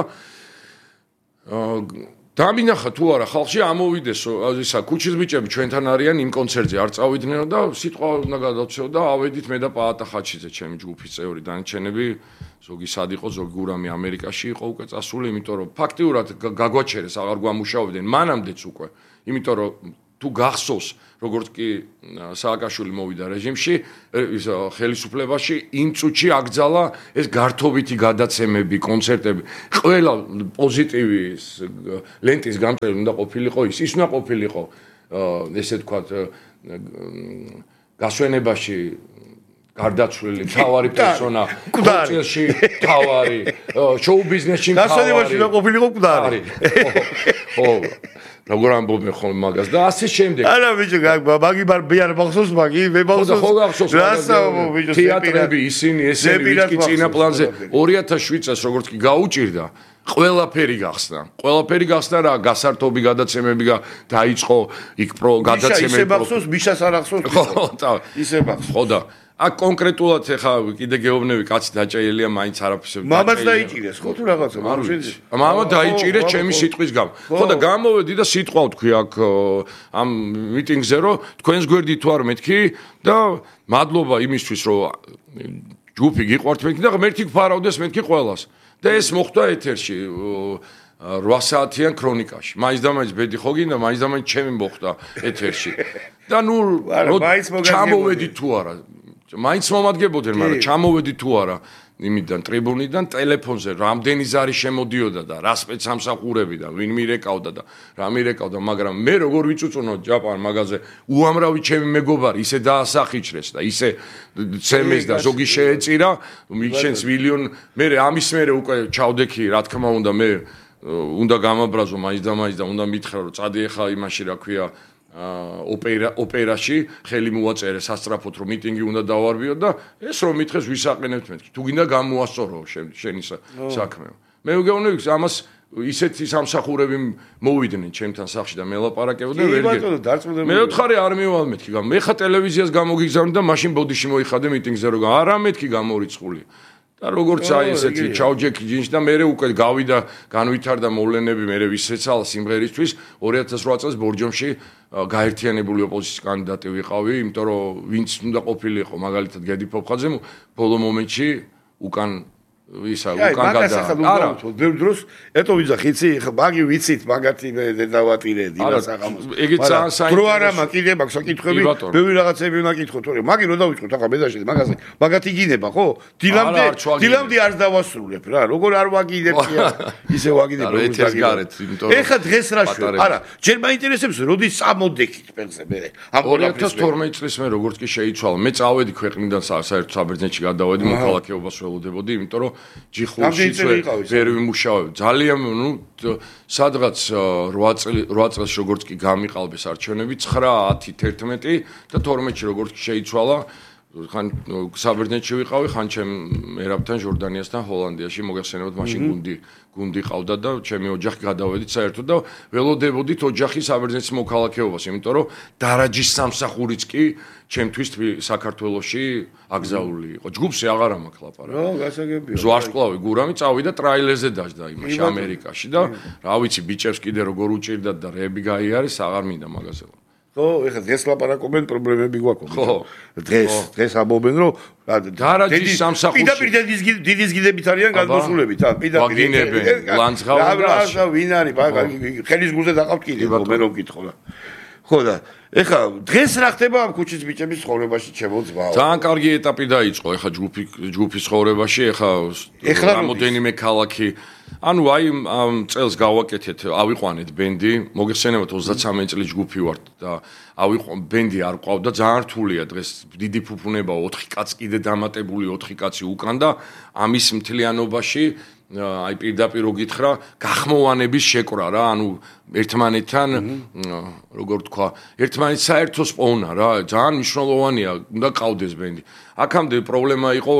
დამინახა თუ არა ხალხში ამოვიდეს ისა ქუჩის ბიჭები ჩვენთან არიან იმ კონცერტზე არ წავიდნენ და სიტყვა უნდა გადავცეო და ავედით მე და პაატა ხაჩიძე ჩემი ჯგუფის წევრი დანარჩენები ზოგი სად იყო ზოგი გურამი ამერიკაში იყო უკვე წასული იმიტომ რომ ფაქტიურად გაგვაჩერეს აღარ გვამუშავებდნენ მანამდეც უკვე იმიტომ რომ თუ გახსოვს როგორც კი სააკაშვილი მოვიდა რეჟიმში ის ხელისუფლებაში იმ წუთში აკძალა ეს გართობითი გადაცემები კონცერტები ყველა პოზიტივი ლენტის გამწერი უნდა ყოფილიყო ის ის უნდა ყოფილიყო ესე თქვა გასვენებაში გარდაცვლილი თავარი პერსონა კულტურაში თავარი შოუ ბიზნესში თავარი გასვენებაში უნდა ყოფილიყო კუდარი ხო როგორ ამბობენ ხოლმე მაგას და ასე შემდეგ. არა ბიჭო, მაგი ბარ მახსოვს მაგი, მე მახსოვს. ხო გახსოვს. რასაუბო ბიჭო, თეატრები ისინი, ესენი ვინც კი წინა პლანზე ორი ათას შვიდ წელს როგორც კი გაუჭირდა, ყველაფერი გახსნა. ყველაფერი გახსნა რა, გასართობი გადაცემები დაიწყო იქ პრო გადაცემები. ისე მახსოვს, მიშას არ ახსოვს. ხო, ისე მახსოვს. ხო და აქ კონკრეტულად ეხა კიდე გეუბნები კაცი დაჭაილია მაინც არაფერს მამას დაიჭირეს ხო თუ რაღაცა არ ვიცი მამა დაიჭირეს ჩემი სიტყვის გამო ხო და გამოვედი და სიტყვა ვთქვი აქ ამ მიტინგზე რომ თქვენს გვერდი თუ არ მეთქი და მადლობა იმისთვის რომ ჯგუფი გიყვართ მეთქი და მერთი გფარავდეს მეთქი ყველას და ეს მოხდა ეთერში რვა საათიან ქრონიკაში მაინც და მაინც ბედი ხო გინდა მაინც და მაინც ჩემი მოხდა ეთერში და ნუ ჩამოვედი თუ არა მაინც მომადგებოდნენ, მაგრამ ჩამოვედი თუ არა იმიდან ტრიბუნიდან ტელეფონზე რამდენი ზარი შემოდიოდა და რა სპეცსამსახურები და ვინ მირეკავდა და რა მირეკავდა, მაგრამ მე როგორ ვიწუწუნო ჯაპან მაგაზე უამრავი ჩემი მეგობარი ისე დაასახიჩრეს და ისე ცემეს და ზოგი შეეწირა, მიშენს მილიონ მე ამის მერე უკვე ჩავდექი, რა თქმა უნდა მე უნდა გამაბრაზო მაინც და მაინც და უნდა მითხრა რომ წადი ახლა იმაში რა ქვია ოპერა ოპერაში ხელი მოაწერე სასტრაფოდ რომ მიტინგი უნდა დავარბიო და ეს რომ მითხეს ვისაყენებთ მეთქი თუ გინდა გამოასწორო შენი საქმე მე ვგეუბნები ამას ისეთი სამსახურები მოვიდნენ ჩემთან სახლში და მელაპარაკებოდნენ ვერ გე მე ვთხარი არ მივალ მეთქი მე ხა ტელევიზიას გამოგიგზავნე და მაშინ ბოდიში მოიხადე მიტინგზე რომ არა მეთქი გამორიცხული და როგორც აი ესეთი ჩაუჯექი ჯინში და მე უკვე გავიდა განვითარდა მოვლენები მე ვისეცალა სიმღერისთვის ორი ათას რვა წელს ბორჯომში გაერთიანებული ოპოზიციის კანდიდატი ვიყავი იმიტომ რომ ვინც უნდა ყოფილიყო მაგალითად გედი ფოფხაძე ბოლო მომენტში უკან ისა უკან გადა არა ბევრ დროს ეტო ვიძახიცი მაგი ვიცით მაგათი მე დავატირედი რა საღამოს ეგეც საინტერესო პრო არამა კიდე მაქვს საკითხები ბევრი რაღაცები უნდა კითხოთ თორე მაგი რო დავიწყოთ ახლა მეზაში მაგაზე მაგათი გინება ხო დილამდე დილამდე არ დავასრულებ რა როგორ არ ვაგიდებ ისე ვაგიდებ რო ეთერგარეთ იმიტომ ეხა დღეს რა შვე არა ჯერ მაინტერესებს როდის წამოდექით პენზე მე ორი ათას თორმეტი წლის მე როგორც კი შეიცვალა მე წავედი ქვეყნიდან საერთო საბერძნეთში გადავედი მოქალაქეობას ველოდებოდი იმიტომ რომ ჯიხურში ვერ ვიმუშავებ ძალიან ნუ სადღაც რვა წელი რვა წელს როგორც კი გამიყალბეს არჩევნები ცხრა ათი თერთმეტი და თორმეტში როგორც კი შეიცვალა ხან საბერძნეთში ვიყავი ხან ჩემ ერაბთან ჟორდანიასთან ჰოლანდიაში მოგეხსენებათ მაშინ გუნდი გუნდი ყავდა და ჩემი ოჯახი გადავედით საერთოდ და ველოდებოდით ოჯახი საბერძნეთის მოქალაქეობას იმიტომ რომ დარაჯის სამსახურიც კი ჩემთვის საქართველოში აკზაული იყო ჯგუფზე აღარ მაქვს ლაპარაკი რა გასაგებია ზვარსკვლავი გურამი წავიდა ტრაილერზე დაждდა იმაში ამერიკაში და რა ვიცი ბიჭებს კიდე როგორ უჭირდათ და რეები გაიარეს აღარ მინდა მაგაზე ხო, ეხლა დღეს ლაპარაკობენ პრობლემები გვაქვს. ხო, დღეს, დღეს ამბობენ რომ დარაჯის სამსახურში პირდაპირ დიდის გიდებით არიან გადმოსულებით, ა, პირდაპირ ლანძღავენ და რა ვინ არის, ხელის გულზე დაყავთ კიდე, მე რომ გითხო. ხო და ეხლა დღეს რა ხდება ამ ქუჩის ბიჭების ცხოვრებაში ჩემო ძმაო? ძალიან კარგი ეტაპი დაიწყო ეხლა ჯგუფი ჯგუფის ცხოვრებაში, ეხლა რამოდენიმე ქალაქი. ანუ აი ამ წელს გავაკეთეთ, ავიყვანეთ ბენდი, მოგეხსენებათ ოცდაცამეტ წლის ჯგუფი ვართ და ავიყვან ბენდი არ ყავდა, ძალიან რთულია დღეს დიდი ფუფუნებაა, ოთხი კაცი კიდე დამატებული ოთხი კაცი უკან და ამის მთლიანობაში აი პირდაპირ გითხრა გახმოვანების შეკრა რა, ანუ ერთმანეთთან როგორ თქვა, ერთმანეთს საერთოს პოვნა რა, ძალიან მნიშვნელოვანია, უნდა ყავდეს ბენდი. აქამდე პრობლემა იყო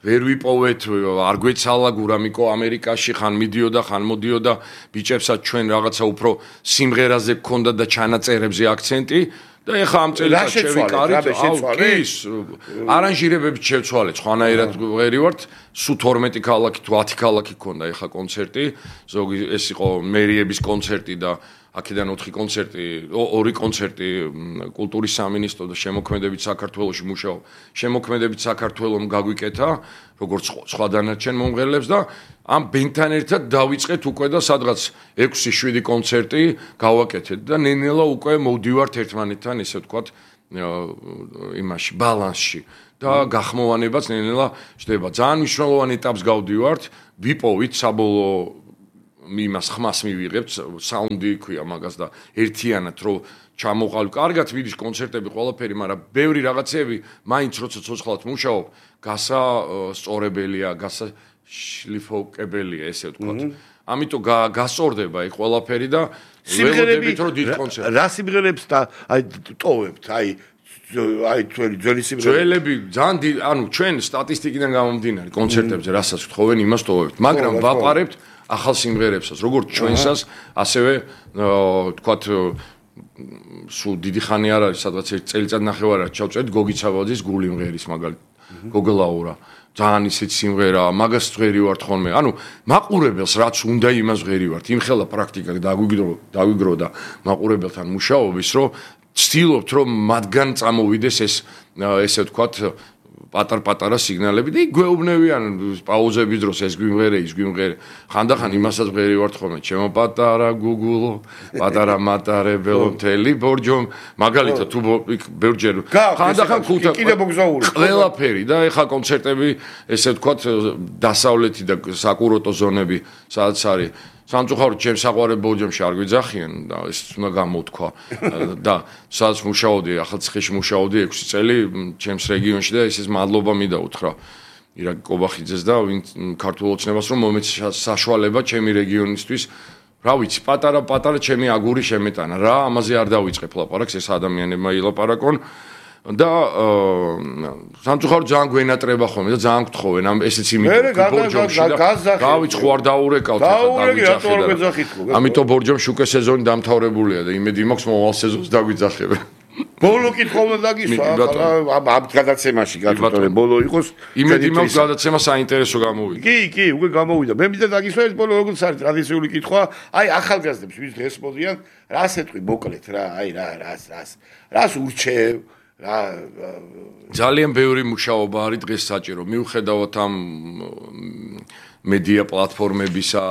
ვერ ვიპოვეთ, არ გვეცალა გურამიკო ამერიკაში ხან მიდიოდა, ხან მოდიოდა, ბიჭებსაც ჩვენ რაღაცა უფრო სიმღერაზე გქონდა და ჩანაწერებზე აქცენტი. და ეხა ამ წელიწადს შევიკარით, ის არანჟირებებით შევცვალეთ, ხვანაირად ვერი ვართ, სულ თორმეტი ქალაქი თუ ათი ქალაქი ქონდა ეხა კონცერტი, ზოგი ეს იყო მერიების კონცერტი და აქედან ოთხი კონცერტი, ორი კონცერტი კულტურის სამინისტრო და შემოქმედებით საქართველოში მუშაობ. შემოქმედებით საქართველოს გაგვიკეთა, როგორც სხვა დანარჩენ მომღერლებს და ამ ბენდთან ერთად დავიწყეთ უკვე და სადღაც ექვსი შვიდი კონცერტი გავაკეთეთ და ნენელა უკვე მოვდივართ ერთმანეთთან, ესე ვთქვათ, იმაში ბალანსში და გახმოვანებაც ნენელა ხდება. ძალიან მნიშვნელოვანი ეტაპს გავდივართ, ვიპოვით საბოლოო იმას ხმას მივიღებთ, საუნდი ქვია მაგას და ერთიანად რო ჩამოყალ. კარგად მიდის კონცერტები ყველაფერი, მაგრამ ბევრი რაღაცები მაინც როცა ცოცხლად მუშაობ, გასა სწორებელია, გასა შლიფოკებელია, ესე ვთქვათ. ამიტომ გასწორდება აი ყველაფერი და ველოდებით რომ დიდ კონცერტს. რა სიმღერებს და აი ტოვებთ, აი აი ძველი ძველი სიმღერები. ძველები ძალიან ანუ ჩვენ სტატისტიკიდან გამომდინარე კონცერტებზე რასაც გთხოვენ, იმას ტოვებთ, მაგრამ ვაპარებთ ახალ სიმღერებსაც, როგორც ჩვენსაც, ასევე თქვათ სულ დიდი ხანი არ არის, სადღაც ერთ წელიწად ნახევარად ჩავწერთ გოგი ცაბაძის გული მღერის მაგალითად. გოგლაურა. ძალიან ისეთი სიმღერაა, მაგას ვღერი ვართ ხოლმე. ანუ მაყურებელს რაც უნდა იმას ვღერი ვართ. იმხელა პრაქტიკა დაგვიგრო, დაგვიგრო და მაყურებელთან მუშაობის, რომ ვცდილობთ, რომ მათგან წამოვიდეს ეს ესე ვთქვათ პატარ-პატარა სიგნალები და იქ გვეუბნებიან პაუზების დროს ეს გვიმღერე, ის გვიმღერე. ხანდახან იმასაც ვღერი ვართ ხოლმე, ჩემო პატარა გუგულო, პატარა მატარებელო, მთელი ბორჯო, მაგალითად თუ ბევრჯერ ხანდახან ხუთა კიდე მოგზაური. ყველაფერი და ეხა კონცერტები, ესე ვთქვათ, დასავლეთი და საკურორტო ზონები, სადაც არის სამწუხაროდ ჩემ საყვარელ ბორჯომში არ გვიძახიან და ეს უნდა გამოთქვა და სადაც მუშაობდი, ახალციხეში მუშაობდი ექვსი წელი ჩემს რეგიონში და ისეს მადლობა მინდა უთხრა ირაკ კობახიძეს და ვინ ქართულ ოცნებას რომ მომეცა საშუალება ჩემი რეგიონისთვის. რა ვიცი, პატარა-პატარა ჩემი აგური შემეტანა რა, ამაზე არ დავიწყებ ლაპარაკს, ეს ადამიანებმა ილაპარაკონ. და სამწუხაროდ ძალიან გვენატრება ხოლმე და ძალიან გთხოვენ ამ ესეც იმით ბორჯომში და გავიც ხო არ დაურეკავთ ახლა ამიტომ ბორჯომში უკვე სეზონი დამთავრებულია და იმედი მაქვს მომავალ სეზონს დაგვიძახებენ. ბოლო კითხვა უნდა დაგისვა ამ გადაცემაში გათხოვე ბოლო იყოს იმედი მაქვს გადაცემა საინტერესო გამოვიდა. კი კი უკვე გამოვიდა. მე მინდა დაგისვა ეს ბოლო როგორც არის ტრადიციული კითხვა, აი ახალგაზრდებს ვის დღეს მოდიან, რას ეთქვი მოკლედ რა, აი რა რას რას რას ურჩევ რა ძალიან ბევრი მუშაობა არის დღეს საჭირო. მიუხედავად ამ მედია პლატფორმებისა,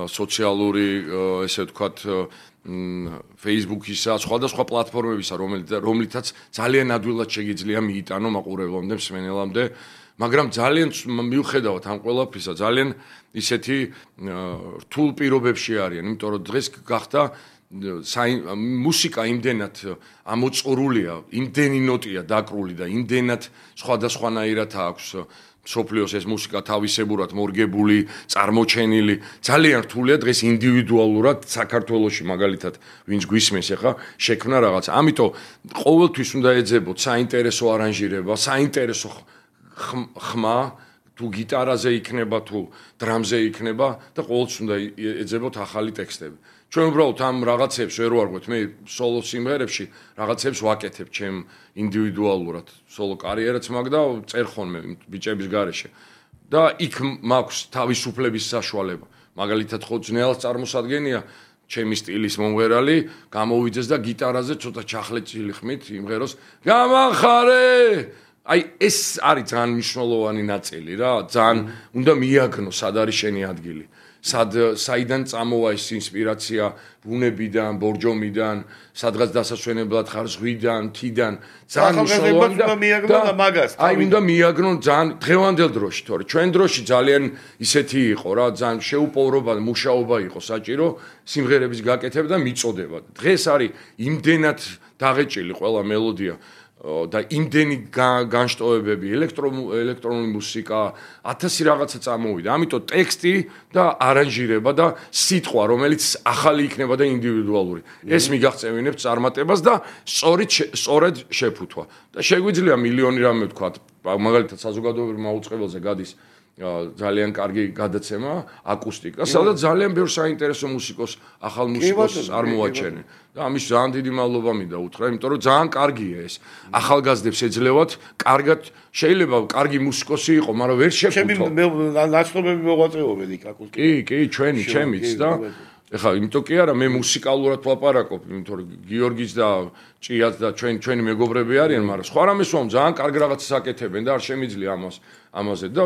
სოციალური ესე ვთქვათ Facebook-ისა, სხვადასხვა პლატფორმებისა, რომლითაც ძალიან ადვილად შეგიძლია მიიტანო მაყურებლამდე, მსმენელამდე, მაგრამ ძალიან მიუხედავად ამ ყველაფრისა, ძალიან ისეთი რთულ პირობებში არიან, იმიტომ რომ დღეს გახდა მუსიკა იმდენად ამოწყურულია, იმდენი ნოტია დაკრული და იმდენად სხვადასხვანაირად აქვს სოფლიოს ეს მუსიკა თავისებურად მორგებული, წარმოჩენილი, ძალიან რთულია დღეს ინდივიდუალურად საქართველოში მაგალითად ვინც გვისმენს ახლა შექმნა რაღაც. ამიტომ ყოველთვის უნდა ეძებოთ საინტერესო არანჟირება, საინტერესო ხმა, თუ გიტარაზე იქნება, თუ დრამზე იქნება და ყოველთვის უნდა ეძებოთ ახალი ტექსტები. ჩვენ უბრალოდ ამ რაღაცებს ვერ ვარღვეთ, მე სოლო სიმღერებში რაღაცებს ვაკეთებ ჩემ ინდივიდუალურად, სოლო კარიერაც მაქვს და წერ ხოლმე ბიჭების გარეშე. და იქ მაქვს თავისუფლების საშუალება. მაგალითად ხო ძნელად წარმოსადგენია ჩემი სტილის მომღერალი გამოვიძეს და გიტარაზე ცოტა ჩახლეჭილი ხმით იმღეროს გამახარე. აი ეს არის ძალიან მნიშვნელოვანი ნაწილი რა, ძალიან უნდა მიაგნო სად არის შენი ადგილი. სად საიდან წამოვა ეს ინსპირაცია ბუნებიდან, ბორჯომიდან, სადღაც დასასვენებლად ხარ ზღვიდან, თიდან, ძალიან მნიშვნელოვანი და მიაგნო და მაგას. აი უნდა მიაგნონ ძალიან დღევანდელ დროში, თორე ჩვენ დროში ძალიან ისეთი იყო რა, ძალიან შეუპოვრობა, მუშაობა იყო საჭირო სიმღერების გაკეთება და მიწოდება. დღეს არის იმდენად დაღეჭილი ყველა მელოდია და იმდენი განშტოებები, ელექტრონული მუსიკა, ათასი რაღაცა წამოვიდა. ამიტომ ტექსტი და არანჟირება და სიტყვა, რომელიც ახალი იქნება და ინდივიდუალური. ეს მიგაღწევინებს წარმატებას და სწორედ სწორედ შეფუთვა. და შეგვიძლია მილიონი რამე ვთქვა, მაგალითად საზოგადოებრივ მაუწყებელზე გადის ძალიან კარგი გადაცემა აკუსტიკა, სადაც ძალიან ბევრ საინტერესო მუსიკოს, ახალ მუსიკოს არ მოაჩენენ. და ამის ძალიან დიდი მადლობა მინდა უთხრა, იმიტომ რომ ძალიან კარგია ეს. ახალგაზრდებს ეძლევათ, კარგად შეიძლება კარგი მუსიკოსი იყო, მაგრამ ვერ შეფუთო. ჩემი ნაცნობები მოღვაწეობენ იქ აკუსტიკა. კი, კი, ჩვენი, ჩემიც და ეხლა იმიტომ კი არა, მე მუსიკალურად ვლაპარაკობ, იმიტომ რომ გიორგის და ჭიაც და ჩვენ ჩვენი მეგობრები არიან, მაგრამ სხვა რამეს ვამ ძალიან კარგ რაღაცას აკეთებენ და არ შემიძლია ამას ამაზე და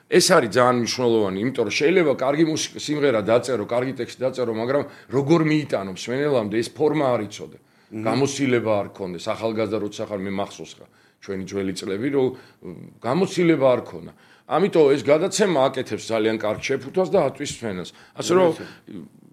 ეს არის ძალიან მნიშვნელოვანი, იმიტომ რომ შეიძლება კარგი მუსიკა სიმღერა დაწერო, კარგი ტექსტი დაწერო, მაგრამ როგორ მიიტანო მსმენელამდე ეს ფორმა არ იცოდე. გამოცდილება არ ქონდეს, ახალგაზრდა როცა ხარ მე მახსოვს ხა ჩვენი ძველი წლები, რომ გამოცდილება არ ქონა. ამიტომ ეს გადაცემა აკეთებს ძალიან კარგ შეფუთვას და ატვის მსმენელს. ასე რომ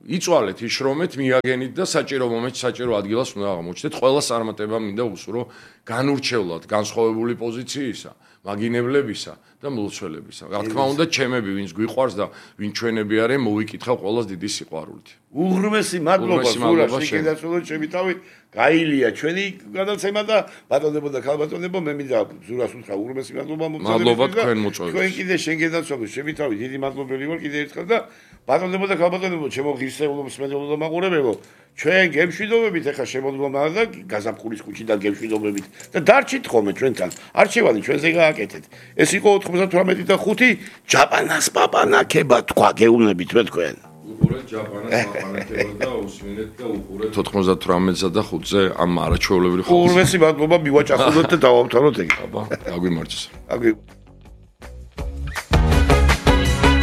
იწვალეთ, იშრომეთ, მიაგენით და საჭირო მომენტში საჭირო ადგილას უნდა აღმოჩნდეთ. ყველა წარმატება მინდა უსურო განურჩევლად განსხვავებული პოზიციისა, მაგინებლებისა და მლოცველებისა. რა თქმა უნდა, ჩემები, ვინც გვიყვარს და ვინ ჩვენები არიან, მოვიკითხავ ყველას დიდი სიყვარულით. უღრმესი მადლობა სურა შეგეცვლოთ ჩემი თავი. გაილია ჩვენი გადაცემა და ბატონებო და ქალბატონებო, მე მინდა ზურას უთხრა უღრმესი მადლობა მომწონებისთვის. მადლობა თქვენ მოწვევით. თქვენ კიდე შენ გენაცვლოთ ჩემი თავი, დიდი მადლობელი ვარ კიდე ერთხელ და ბატონებო და ქალბატონებო, ჩემო ღირსეულო მსმენელო და მაყურებელო, ჩვენ გემშვიდობებით ახლა შემოდგომა და გაზაფხულის ქუჩიდან გემშვიდობებით და დარჩით ხოლმე ჩვენთან. არჩევანი ჩვენზე გააკეთეთ. ეს იყო ოთხმოცდათვრამეტი და ხუთი ჯაპანას პაპანაკება თქვა გეუბნებით მე თქვენ. უყურეთ ჯაპანას პაპანაკება და უსმინეთ და უყურეთ ოთხმოცდათვრამეტსა და ხუთზე ამ არაჩვეულებრივ ხალხს. უღრმესი მადლობა მივაჭახულოთ და დავამთავროთ ეგ. აბა, აგვიმარჯოს. აგვი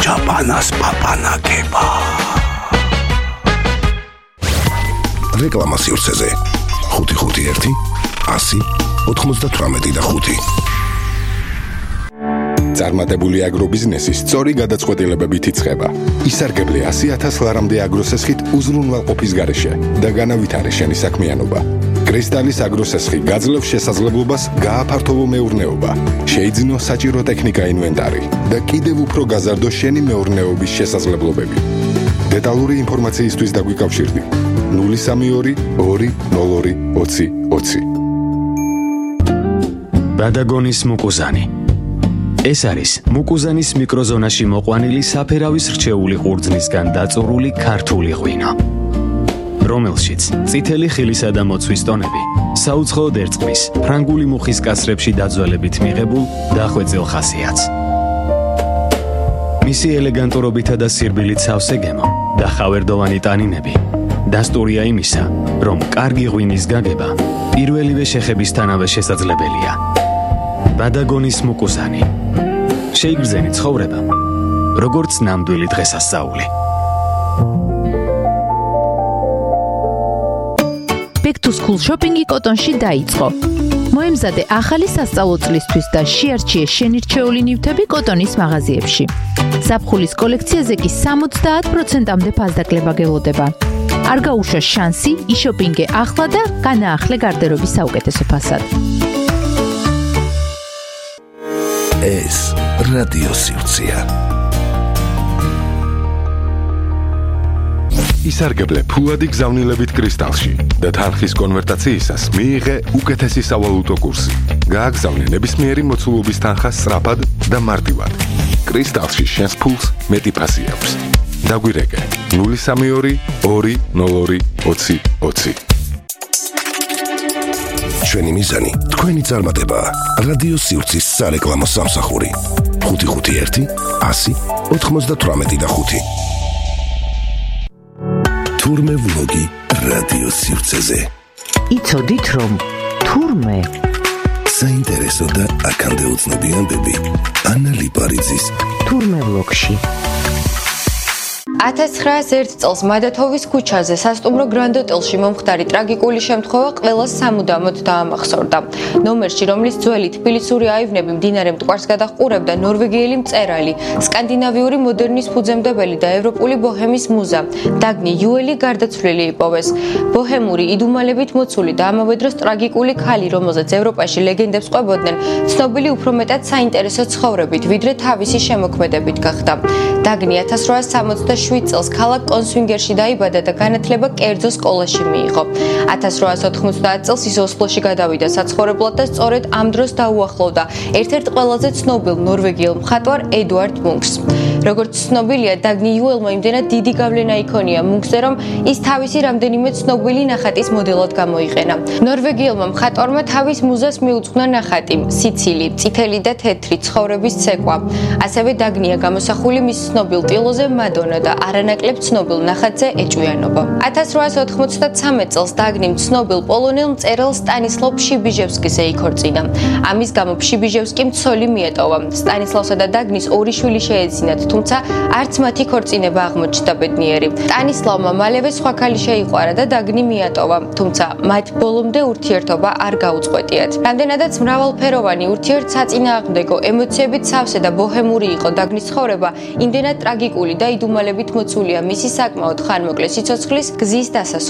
ჯაპანას პაპანაკება. რეკლამა სივრცეზე ხუთი ხუთი ერთი ასი ოთხმოცდათვრამეტი და ხუთი. წარმატებული აგრობიზნესი სწორი გადაწყვეტილებებით იწყება. ისარგებლე ასი ათას ლარამდე აგროსესხით უზრუნველყოფის გარეშე და განავითარე შენი საქმიანობა. კრისტალის აგროსესხი გაძლევს შესაძლებლობას გააფართოვო მეურნეობა, შეიძინო საჭირო ტექნიკა ინვენტარი და კიდევ უფრო გაზარდო შენი მეურნეობის შესაძლებლობები. დეტალური ინფორმაციისთვის დაგვიკავშირდი ნული სამი ორი ორი ნოლ ორი ოცი ოცი. ბადაგონის მუკუზანი. ეს არის მუკუზანის მიკროზონაში მოყვანილი საფერავის რჩეული ყურძნისგან დაწურული ქართული ღვინო, რომელშიც წითელი ხილისა და მოცვის ტონები საუცხოოდ ერწყმის ფრანგული მუხის კასრებში დაძველებით მიღებულ დახვეწილ ხასიათს. მისი ელეგანტურობითა და სირბილით სავსე გემო და ხავერდოვანი ტანინები დასტურია იმისა, რომ კარგი ღვინის გაგება პირველივე შეხებისთანავე შესაძლებელია. ბადაგონის მუკუზანი. შეიგრძენი ცხოვრება, როგორც ნამდვილი დღესასწაული. Back to School შოპინგი კოტონში დაიწყო. მოემზადე ახალი სასწავლო წლისთვის და შეარჩიე შენირჩეული ნივთები კოტონის მაღაზიებში. ზაფხულის კოლექციაზე კი სამოცდაათ პროცენტამდე ფასდაკლება გელოდება. არ გაუშვა შანსი, იშოპინგე ახლა და განაახლე გარდერობის საუკეთესო ფასად. ეს რადიო სივრცეა. ისარგებლე ფულადი გზავნილებით კრისტალში და თანხის კონვერტაციისას მიიღე უკეთესი სავალუტო კურსი. გააგზავნე ნებისმიერი მოცულობის თანხა სწრაფად და მარტივად. კრისტალში შენს ფულს მეტი ფასი აქვს. დაგვირეკე ნული სამი ორი ორი ნოლ ორი ოცი ოცი. ჩვენი მიზანი თქვენი წარმატებაა. რადიო სივრცის სარეკლამო სამსახური ხუთი ხუთი ერთი ასი ოთხმოცდათვრამეტი და ხუთი. თურმე ვლოგი რადიო სივრცეზე. იცოდით რომ თურმე საინტერესო და აქამდე უცნობი ამბები ანა ლიპარიძის თურმე ვლოგში. ათას ცხრაას ერთ წელს მადათოვის ქუჩაზე სასტუმრო Grand Hotel-ში მომხდარი ტრაგიკული შემთხვევა ყველას სამუდამოდ დაამახსოვრდა. ნომერში, რომლის ძველი თბილისური აივნები მდინარე მტკვარს გადაჰყურებდა ნორვეგიელი მწერალი, სკანდინავიური მოდერნის ფუძემდებელი და ევროპული ბოჰემის მუზა, დაგნი იუელი გარდაცვლილი იპოვეს. ბოჰემური იდუმალებით მოცული და ამავე დროს ტრაგიკული ქალი, რომელზეც ევროპაში ლეგენდებს ყვებოდნენ, ცნობილი უფრო მეტად საინტერესო ცხოვრებით, ვიდრე თავისი შემოქმედებით გახდა. დაგნი ათას რვაას სამოცდაშვიდ წელს ქალაქ კონსვინგერში დაიბადა და განათლება კერძო სკოლაში მიიღო. ათას რვაას ოთხმოცდაათ წელს ის ოსლოში გადავიდა საცხოვრებლად და სწორედ ამ დროს დაუახლოვდა ერთ-ერთ ყველაზე ცნობილ ნორვეგიელ მხატვარ ედუარდ მუნკს. როგორც ცნობილია, დაგნი იუელმა იმდენად დიდი გავლენა იქონია მუნკსზე, რომ ის თავისი რამდენიმე ცნობილი ნახატის მოდელად გამოიყენა. ნორვეგიელმა მხატვარმა თავის მუზას მიუძღვნა ნახატი სიცილი, წითელი და თეთრი ცხოვრების ცეკვა. ასევე დაგნია გამოსახული მის ცნობილ ტილოზე მადონა და არანაკლებ ცნობილ ნახატზე ეჭვიანობა. ათას რვაას ოთხმოცდათრამეტ წელს დაგნიმ ცნობილ პოლონელ მწერალ სტანისლავ ფშიბიჟევსკიზე იქორწინა. ამის გამო ფშიბიჟევსკიმ ცოლი მიეტოვა. სტანისლავსა და დაგნის ორი შვილი შეეძინათ, თუმცა არც მათი ქორწინება აღმოჩნდა ბედნიერი. სტანისლავმა მალევე სხვა ქალი შეიყვარა და დაგნი მიატოვა, თუმცა მათ ბოლომდე ურთიერთობა არ გაუწყვეტიათ. რამდენადაც მრავალფეროვანი ურთიერთსაწინააღმდეგო ემოციებით სავსე და ბოჰემური იყო დაგნის ცხოვრება, იმდენად ტრაგიკული და იდუმალებით მოცულია მისი საკმაოდ ხანმოკლე სიცოცხლის გზის დასასრულს.